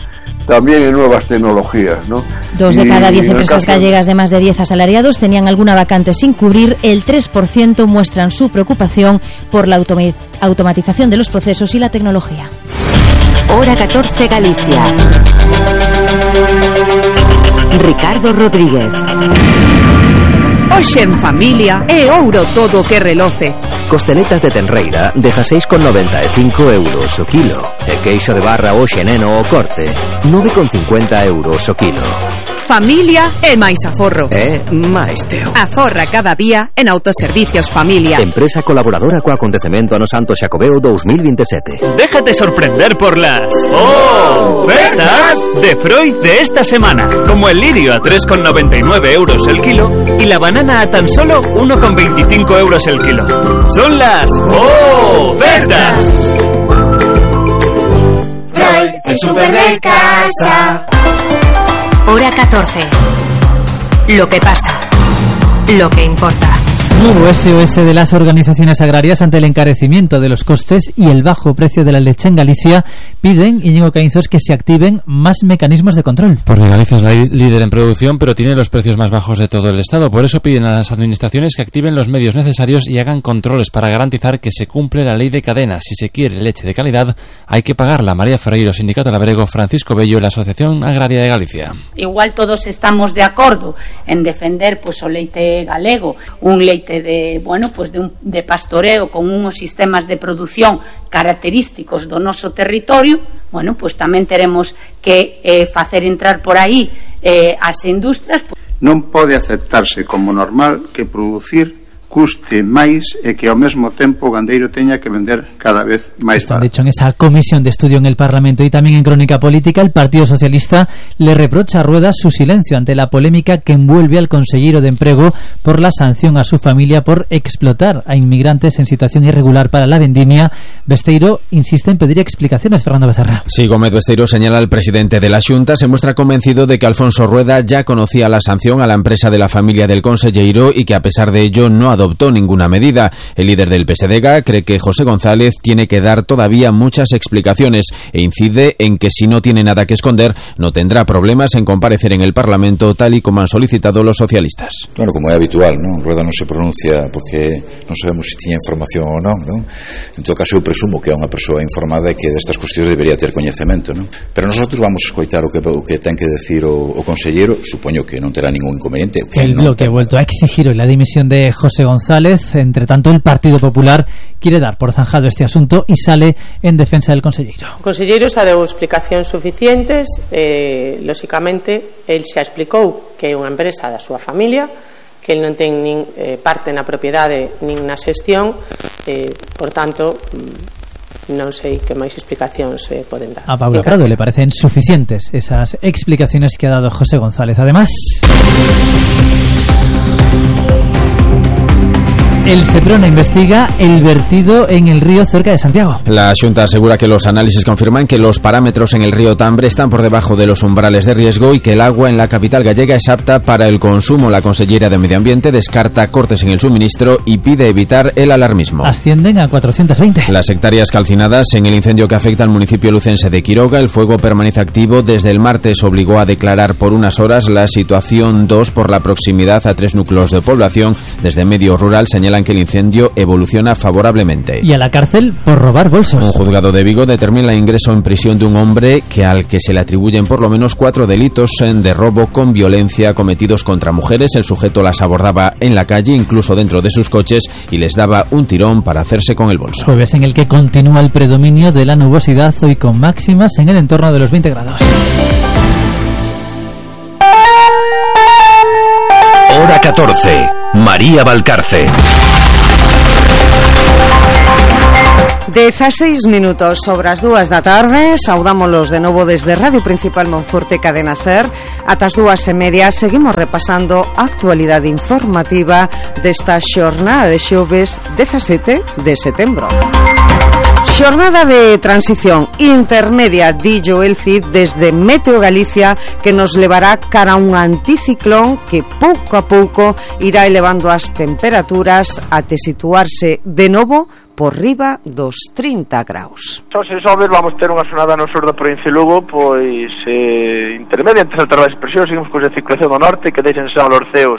También en nuevas tecnologías, ¿no? Dos de cada diez empresas gallegas de más de diez asalariados tenían alguna vacante sin cubrir. El tres por ciento muestran su preocupación por la automa- automatización de los procesos y la tecnología. Hora catorce Galicia. Ricardo Rodríguez. Hoxe en familia é ouro todo que reloce. Costeletas de tenreira dezaseis con noventa e cinco euros o kilo. E queixo de barra hoxe neno o corte nove con cincuenta euros o kilo. Familia e máis aforro. É máis teo. Aforra cada día en Autoservicios Familia. Empresa colaboradora co acontecemento ano Santo Xacobeo dos mil veintisiete. Déjate sorprender por las ofertas de Freud de esta semana, como el lirio a tres con noventa y nueve euros el kilo y la banana a tan solo uno con veinticinco euros el kilo. Son las ofertas. Freud, el super de casa. Hora catorce. Lo que pasa. Lo que importa. Nuevo S O S de las organizaciones agrarias ante el encarecimiento de los costes y el bajo precio de la leche en Galicia. Piden, Íñigo Caínzos, que se activen más mecanismos de control. Porque Galicia es la líder en producción, pero tiene los precios más bajos de todo el Estado. Por eso piden a las administraciones que activen los medios necesarios y hagan controles para garantizar que se cumple la ley de cadena. Si se quiere leche de calidad, hay que pagarla. María Ferreiro, Sindicato Labrego, Francisco Bello, la Asociación Agraria de Galicia. Igual todos estamos de acordo en defender pues o leite galego, un leite de, bueno, pues de, un, de pastoreo con unos sistemas de producción característicos do noso territorio. Bueno, pues tamén teremos que eh, facer entrar por aí eh, as industrias. Non pode aceptarse como normal que producir custe máis e que ao mesmo tempo o gandeiro teña que vender cada vez máis Esto han barato. dicho en esa comisión de estudio en el Parlamento. Y también en Crónica Política, el Partido Socialista le reprocha a Rueda su silencio ante la polémica que envuelve al consellero de Emprego por la sanción a su familia por explotar a inmigrantes en situación irregular para la vendimia. Besteiro insiste en pedir explicaciones. Fernando Becerra. Sí, Gómez Besteiro señala al presidente de la Xunta, se muestra convencido de que Alfonso Rueda ya conocía la sanción a la empresa de la familia del consellero y que a pesar de ello no adoptó ninguna medida. El líder del P S D G cree que José González tiene que dar todavía muchas explicaciones e incide en que si no tiene nada que esconder no tendrá problemas en comparecer en el Parlamento tal y como han solicitado los socialistas. Bueno, como é habitual, ¿no? Rueda non se pronuncia porque non sabemos se tiña información ou non, ¿no? En todo caso eu presumo que é unha persoa informada e que destas cuestións debería ter coñecemento, ¿no? Pero nosotros vamos a escoitar o que, o que ten que decir o, o consellero, supoño que non terá ningún inconveniente. Que El non bloque ha vuelto a exigir hoy la dimisión de José González. Entre tanto, el Partido Popular quiere dar por zanjado este asunto y sale en defensa del consellero. O conselleiro xa deu explicacións suficientes, eh, lóxicamente el xa explicou que é unha empresa da súa familia, que el non ten nin eh, parte na propiedade nin na xestión, eh, por tanto non sei que máis explicacións eh, poden dar. A Paula Prado le parecen suficientes esas explicaciones que ha dado José González. Además, El Seprona investiga el vertido en el río cerca de Santiago. La Xunta asegura que los análisis confirman que los parámetros en el río Tambre están por debajo de los umbrales de riesgo y que el agua en la capital gallega es apta para el consumo. La consellera de Medio Ambiente descarta cortes en el suministro y pide evitar el alarmismo. Ascienden a cuatrocientos veinte. Las hectáreas calcinadas en el incendio que afecta al municipio lucense de Quiroga. El fuego permanece activo. Desde el martes obligó a declarar por unas horas la situación dos por la proximidad a tres núcleos de población. Desde Medio Rural señalan que el incendio evoluciona favorablemente. Y a la cárcel por robar bolsos. Un juzgado de Vigo determina el ingreso en prisión de un hombre que al que se le atribuyen por lo menos cuatro delitos de robo con violencia cometidos contra mujeres. El sujeto las abordaba en la calle, incluso dentro de sus coches, y les daba un tirón para hacerse con el bolso. Jueves en el que continúa el predominio de la nubosidad, hoy con máximas en el entorno de los veinte grados. Hora catorce. María Valcarce. dezaseis minutos sobre as dúas da tarde. Saudámolos de novo desde Radio Principal Monforte Cadena Ser. Ata as dúas e media seguimos repasando a actualidade informativa desta xornada de xoves dezasete de setembro. Xornada de transición intermedia, dillo el C I D desde Meteo Galicia, que nos levará cara a un anticiclón que pouco a pouco irá elevando as temperaturas até situarse de novo por riba dos trinta graus. Hoxe xoves vamos ter unha xornada no sur da provincia de Lugo, pois eh, intermedia entre as altas presións, seguimos con a circulación do norte, que deixen xa os ceos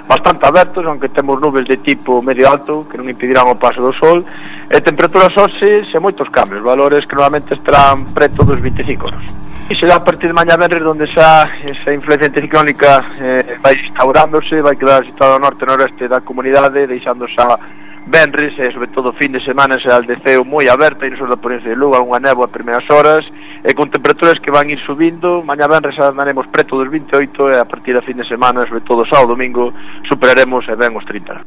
bastante abertos, aunque temos nubes de tipo medio alto que non impedirán o paso do sol, e temperaturas hoxe sen moitos cambios, valores que normalmente estarán preto dos vinte e cinco graus. E será a partir de mañá venres onde xa esa influencia anticiclónica eh, vai instaurándose, vai quedar situado ao norte e noreste da comunidade, deixando xa venres e sobre todo fin de semana será el de ceo moi aberta e no sur da provincia de Lugo, algunha néboa a primeiras horas e con temperaturas que van ir subindo. Mañá venres andaremos preto dos vinte e oito e a partir da fin de semana, sobre todo sábado domingo, superaremos e ben os trinta.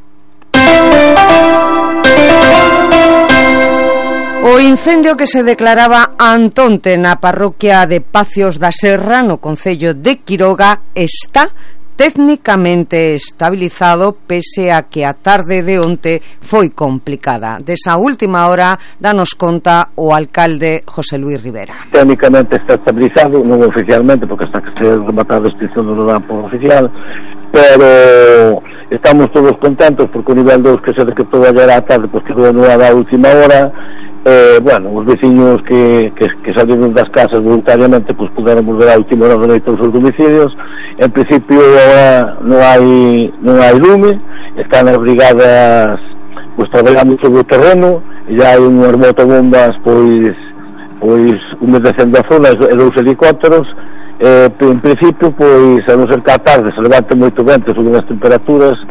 O incendio que se declaraba antonte na parroquia de Pacios da Serra, no concello de Quiroga, está técnicamente estabilizado, pese a que a tarde de onte foi complicada. Desa última hora danos conta o alcalde José Luis Rivera. Técnicamente está estabilizado, non oficialmente, porque hasta que se rematar a extinción non lo dan por oficial, pero estamos todos contentos porque o nivel dos que se decretou ayer á tarde pues quedou anulada a última hora. Eh, bueno, os veciños que, que, que salieron das casas voluntariamente pues puderon volver a última hora de todos os domicilios. En principio ahora non hai non hai lume, están as brigadas pues traballando sobre o terreno e já hai unhas motobombas pois pois humedecendo a zona e dous helicópteros. Eh, en principio pois a non ser que a tarde se levante moito vento e suben as temperaturas,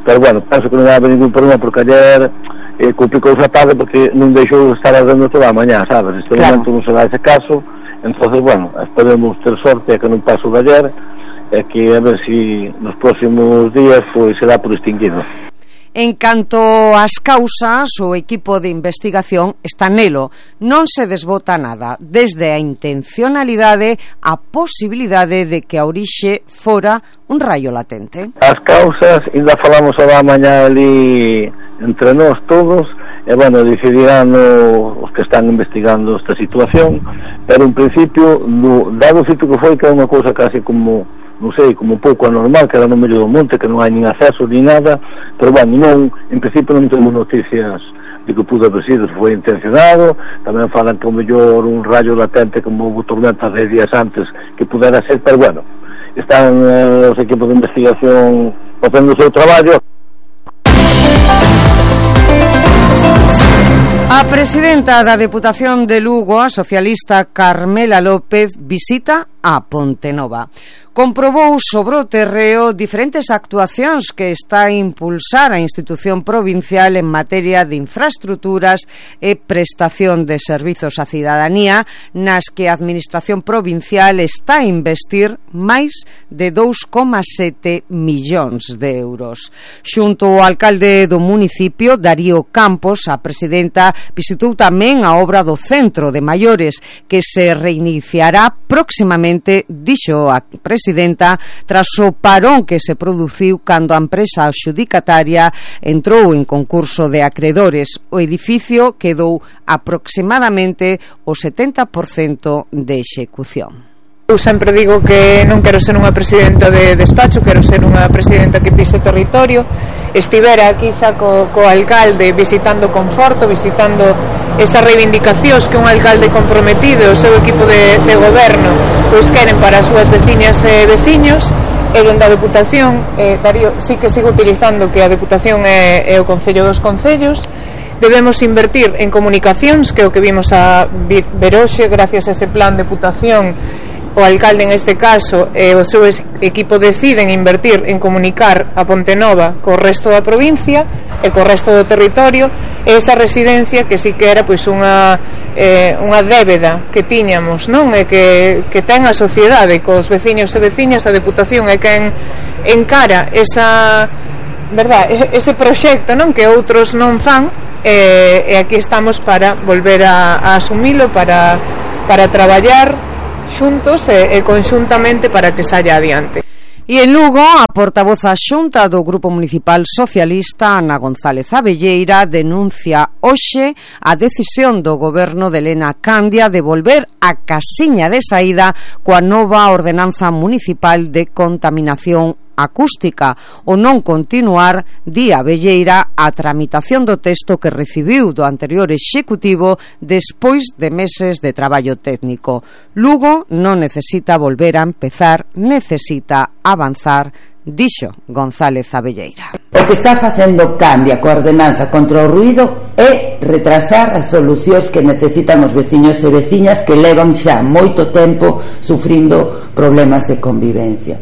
pero bueno, penso que non vai haber ningún problema porque ayer eh, complicou a tarde porque non deixou estar ardendo toda a mañá, sabes? Este claro. Momento non se dá ese caso, entonces bueno, esperemos ter sorte que non paso de ayer e que a ver si nos próximos días pois será por extinguido. En canto ás causas, o equipo de investigación está nelo. Non se desbota nada, desde a intencionalidade a posibilidade de que a orixe fora un raio latente. As causas, ainda falamos a mañá ali entre nós todos, e bueno, decidirán o, os que están investigando esta situación, pero en principio, do, dado o sitio que foi, que é unha cousa casi como non sei, como un pouco anormal, que era no medio do monte, que non hai nin acceso ni nada, pero bueno, non, en principio non temos noticias de que pudo haber sido, se foi intencionado. Tamén falan que o mellor un rayo latente como hubo tormentas de días antes que pudera ser, pero bueno, están eh, os equipos de investigación facendo o seu traballo. A presidenta da Deputación de Lugo, a socialista Carmela López, visita a Pontenova. Comprobou sobre o terreo diferentes actuacións que está a impulsar a institución provincial en materia de infraestructuras e prestación de servizos á cidadanía, nas que a administración provincial está a investir máis de dous coma sete millóns de euros. Xunto ao alcalde do municipio, Darío Campos, a presidenta visitou tamén a obra do centro de maiores, que se reiniciará próximamente, dixo a presidenta presidenta tras o parón que se produciu cando a empresa adxudicataria entrou en concurso de acreedores. O edificio quedou aproximadamente o setenta por cento de execución. Eu sempre digo que non quero ser unha presidenta de despacho, quero ser unha presidenta que pise territorio. Estivera aquí xa co, co alcalde visitando Conforto, visitando esas reivindicacións que un alcalde comprometido e o seu equipo de, de goberno pois queren para as súas veciñas e veciños. E dende a Deputación, eh, Darío, sí que sigo utilizando que a Deputación é, é o Concello dos Concellos. Debemos invertir en comunicacións, que é o que vimos a ver hoxe, gracias a ese plan de Deputación. O alcalde en este caso e o seu equipo deciden invertir en comunicar a Pontenova co resto da provincia e co resto do territorio, e esa residencia que si que era pois unha eh, unha débeda que tiñamos, non? E que, que ten a sociedade cos veciños e veciñas. A Deputación é quen encara esa, verdad, ese proxecto, non? Que outros non fan, e, e aquí estamos para volver a, a asumilo, para, para traballar xuntos e, e conxuntamente para que saia adiante. E en Lugo, a portavoz adxunta do Grupo Municipal Socialista, Ana González Abelleira, denuncia hoxe a decisión do goberno de Elena Candia de volver a casiña de saída coa nova ordenanza municipal de contaminación acústica, o non continuar, di Abelleira, a tramitación do texto que recibiu do anterior executivo despois de meses de traballo técnico. Lugo non necesita volver a empezar, necesita avanzar, dixo González Abelleira. O que está facendo Candia coa ordenanza contra o ruído é retrasar as solucións que necesitan os veciños e veciñas que levan xa moito tempo sufrindo problemas de convivencia.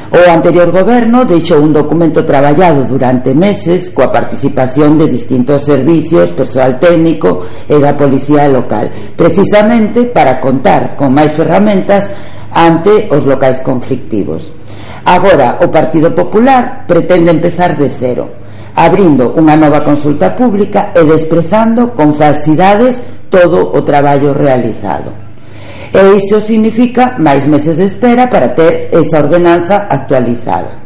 O anterior goberno deixou un documento traballado durante meses coa participación de distintos servicios, persoal técnico e da policía local, precisamente para contar con máis ferramentas ante os locais conflictivos. Agora, o Partido Popular pretende empezar de cero, abrindo unha nova consulta pública e desprezando con falsidades todo o traballo realizado. E iso significa máis meses de espera para ter esa ordenanza actualizada.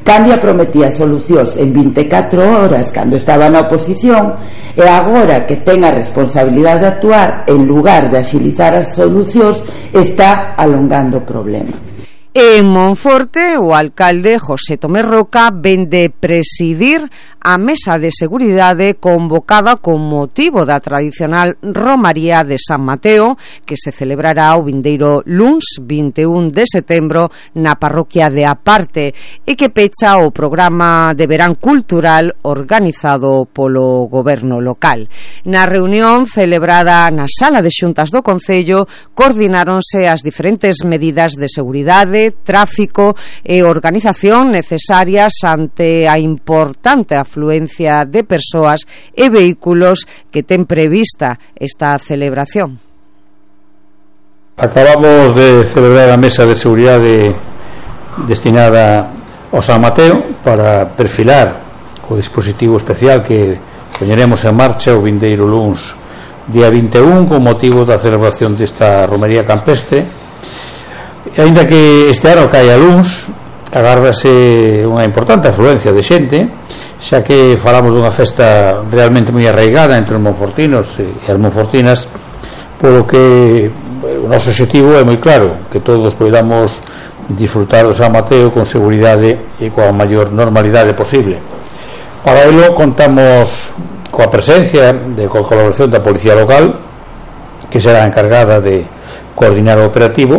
Candia prometía solucións en vinte e catro horas cando estaba na oposición, e agora que ten a responsabilidade de actuar en lugar de axilizar as solucións, está alongando o problema. En Monforte, o alcalde José Tomé Roca ven de presidir a mesa de seguridade convocada con motivo da tradicional Romaría de San Mateo, que se celebrará o vindeiro luns vinte e un de setembro na parroquia de Aparte, e que pecha o programa de verán cultural organizado polo goberno local. Na reunión celebrada na sala de xuntas do Concello, coordináronse as diferentes medidas de seguridade, tráfico e organización necesarias ante a importante afluencia de persoas e vehículos que ten prevista esta celebración. Acabamos de celebrar a mesa de seguridade destinada ao San Mateo para perfilar o dispositivo especial que poñeremos en marcha o vindeiro luns día vinte e un con motivo da celebración desta romería campestre. E aínda que este ano caia luns, agárdase unha importante afluencia de xente, xa que falamos dunha festa realmente moi arraigada entre os monfortinos e as monfortinas, polo que o noso objetivo é moi claro, que todos podamos disfrutar do San Mateo con seguridade e coa maior normalidade posible. Para ello contamos coa presencia de coa colaboración da Policía Local, que será encargada de coordinar o operativo,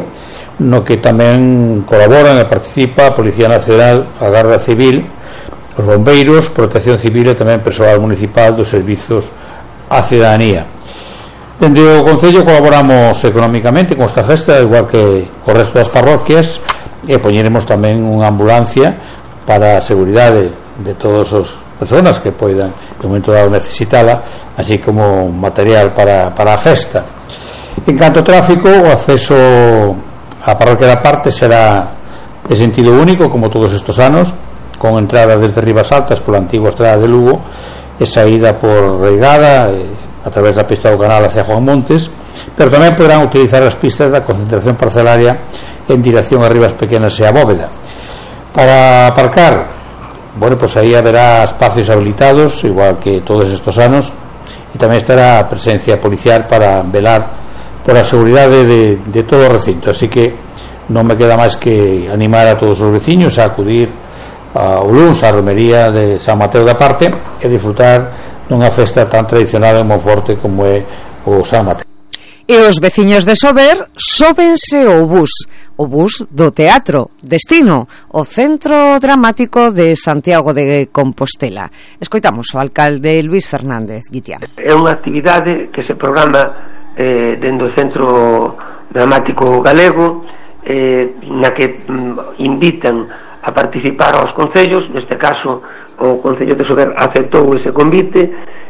no que tamén colaboran e participa a Policía Nacional, a Garda Civil, os bombeiros, Protección Civil e tamén persoal municipal dos servizos á cidadanía. Dende o Concello colaboramos económicamente con esta festa, igual que o resto das parroquias, e poñeremos tamén unha ambulancia para a seguridade de todas as persoas que poidan en un momento dado necesitala, así como material para, para a festa. En canto ao tráfico, o acceso a parroquia da Parte será de sentido único como todos estes anos, con entrada desde Ribas Altas pola antigua estrada de Lugo e saída por Reigada e a través da pista do canal hacia Juan Montes, pero tamén poderán utilizar as pistas da concentración parcelaria en dirección a Rivas Pequenas e a Bóveda. Para aparcar, bueno, pues aí haberá espacios habilitados, igual que todos estos anos, e tamén estará a presencia policial para velar por a seguridade de, de todo o recinto. Así que non me queda máis que animar a todos os veciños a acudir ao luns á romería de San Mateo da Parte e disfrutar dunha festa tan tradicional en Monforte como é o San Mateo. E os veciños de Sober sóbense ao bus, o bus do teatro Destino, o Centro Dramático de Santiago de Compostela. Escoitamos o alcalde Luis Fernández Guitián. É unha actividade que se programa eh, dentro do Centro Dramático Galego, eh, na que mm, invitan a participar aos concellos. Neste caso o Concello de Sober aceptou ese convite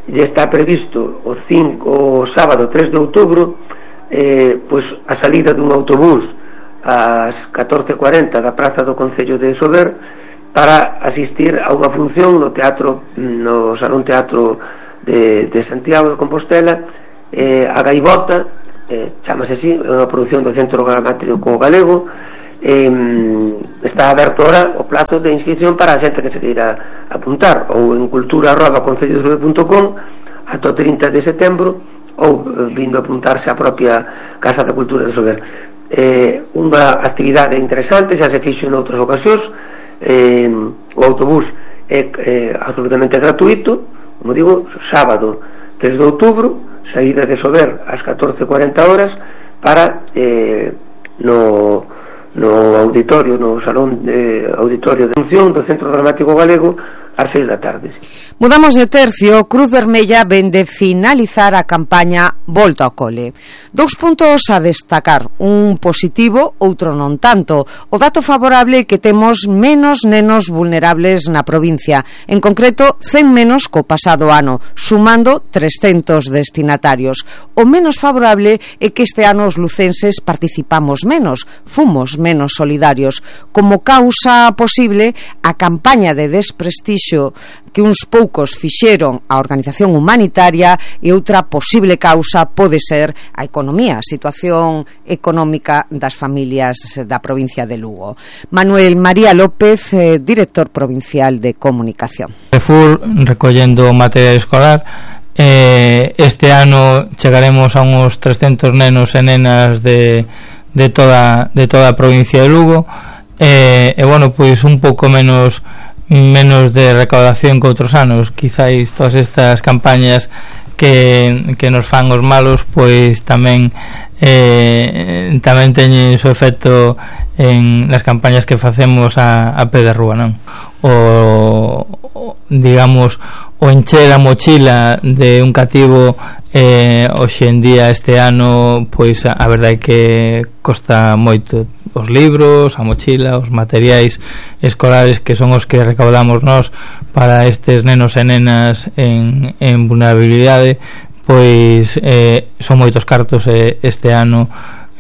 e está previsto o, cinco, o sábado tres de outubro eh, pois a salida dun autobús ás catorce cuarenta da praza do Concello de Sober para asistir a unha función no teatro, no Salón Teatro de, de Santiago de Compostela, eh, a Gaivota, eh, chamase así, é unha produción do Centro Dramático Galego. Eh, está aberto ahora o plazo de inscripción para a xente que se queira apuntar, ou en cultura arroba concello de sober punto com ata o trinta de setembro, ou eh, vindo a apuntarse á propia Casa da Cultura de Sober. Eh, unha actividade interesante, xa se fixo en outras ocasións. Eh, o autobús é eh, absolutamente gratuito, como digo, sábado tres de outubro, saída de Sober ás catorce cuarenta horas para eh, no no auditorio, no salón de auditorio de función do Centro Dramático Galego ás seis da tarde. Mudamos de tercio. Cruz Vermella vende finalizar a campaña Volta ao Cole. Dous puntos a destacar, un positivo, outro non tanto. O dato favorable que temos menos nenos vulnerables na provincia, en concreto cen menos co pasado ano, sumando trescentos destinatarios. O menos favorable é que este ano os lucenses participamos menos, fomos menos solidarios. Como causa posible, a campaña de desprestixio que uns poucos fixeron a organización humanitaria, e outra posible causa pode ser a economía, a situación económica das familias da provincia de Lugo. Manuel María López, eh, director provincial de comunicación. Fur recollendo material escolar. Eh, este ano chegaremos a uns trescentos nenos e nenas de, de, toda, de toda a provincia de Lugo. Eh, e bueno, pois un pouco menos menos de recaudación que outros anos. Quizáis todas estas campañas que, que nos fan os malos, pois tamén eh, tamén teñen o efecto en las campañas que facemos a, a pé de rúa, non? O, o digamos o encher a mochila de un cativo eh, hoxe en día, este ano, pois a, a verdade é que costa moito. Os libros, a mochila, os materiais escolares, que son os que recaudamos nós para estes nenos e nenas en, en vulnerabilidade, pois eh, son moitos cartos, e este ano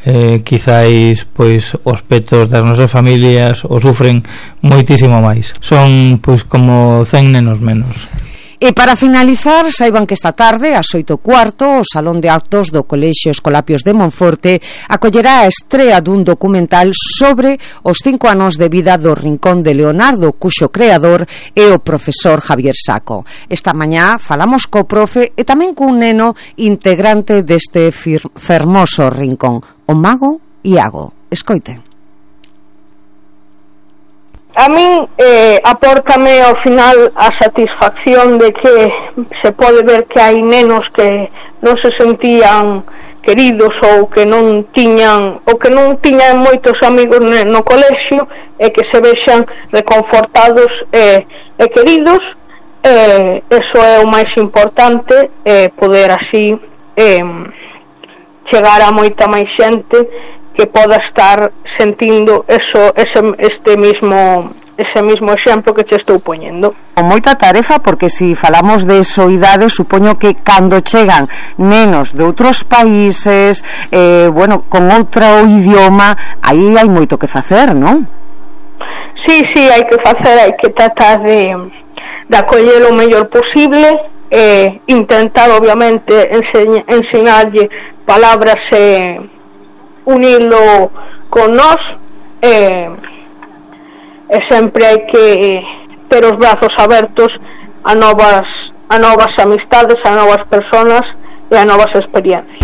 eh, quizáis pois os petos das nosas familias o sufren moitísimo máis. Son pois como cen nenos menos. E para finalizar, saiban que esta tarde, ás oito e cuarto, o Salón de Actos do Colexio Escolapios de Monforte acollerá a estrea dun documental sobre os cinco anos de vida do Rincón de Leonardo, cuxo creador é o profesor Javier Saco. Esta mañá falamos co profe e tamén cun neno integrante deste fermoso rincón, o mago Iago. Escoiten. A min eh, apórtame ao final a satisfacción de que se pode ver que hai nenos que non se sentían queridos, ou que non tiñan ou que non tiñan moitos amigos no colexio, e que se vexan reconfortados e, e queridos. Eh, eso é o máis importante, eh, poder así eh, chegar a moita máis xente que poda estar sentindo eso, ese, este mismo ese mismo exemplo que che estou poñendo. Con moita tarefa, porque se si falamos de soidade, supoño que cando chegan nenos de outros países, eh, bueno, con outro idioma, aí hai moito que facer, non? Sí, sí, hai que facer, hai que tratar de, de acoller o mellor posible, eh, intentar obviamente enseñ enseñarlle palabras e eh, unilo con nós, eh, e sempre hai que ter os brazos abertos a novas a novas amistades, a novas personas e a novas experiencias.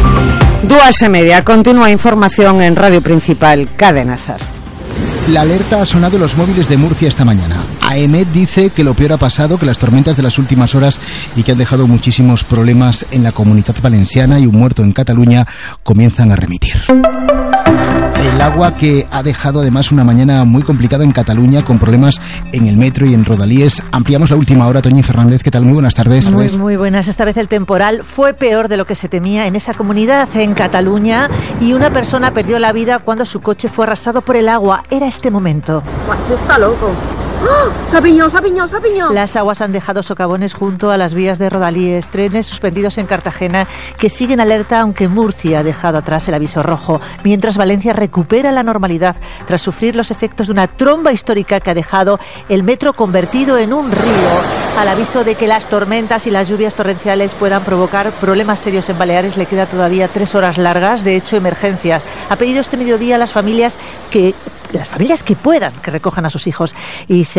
Dúas e media, continúa información en Radio Principal, Cadena Ser. La alerta ha sonado en los móviles de Murcia esta mañana. AEMET dice que lo peor ha pasado, que las tormentas de las últimas horas y que han dejado muchísimos problemas en la Comunitat Valenciana y un muerto en Cataluña comienzan a remitir. El agua que ha dejado además una mañana muy complicada en Cataluña con problemas en el metro y en Rodalíes. Ampliamos la última hora. Toñi Fernández, ¿qué tal? Muy buenas tardes. Muy, muy buenas. Esta vez el temporal fue peor de lo que se temía en esa comunidad, en Cataluña, y una persona perdió la vida cuando su coche fue arrasado por el agua. Era este momento. Pues está loco. ¡Oh! ¡Sapiñón, sapiñón, sapiñón! Las aguas han dejado socavones junto a las vías de Rodalíes, trenes suspendidos en Cartagena que siguen alerta, aunque Murcia ha dejado atrás el aviso rojo, mientras Valencia recupera la normalidad tras sufrir los efectos de una tromba histórica que ha dejado el metro convertido en un río. Al aviso de que las tormentas y las lluvias torrenciales puedan provocar problemas serios en Baleares le queda todavía tres horas largas, de hecho emergencias. Ha pedido este mediodía a las familias que las familias que puedan que recojan a sus hijos y se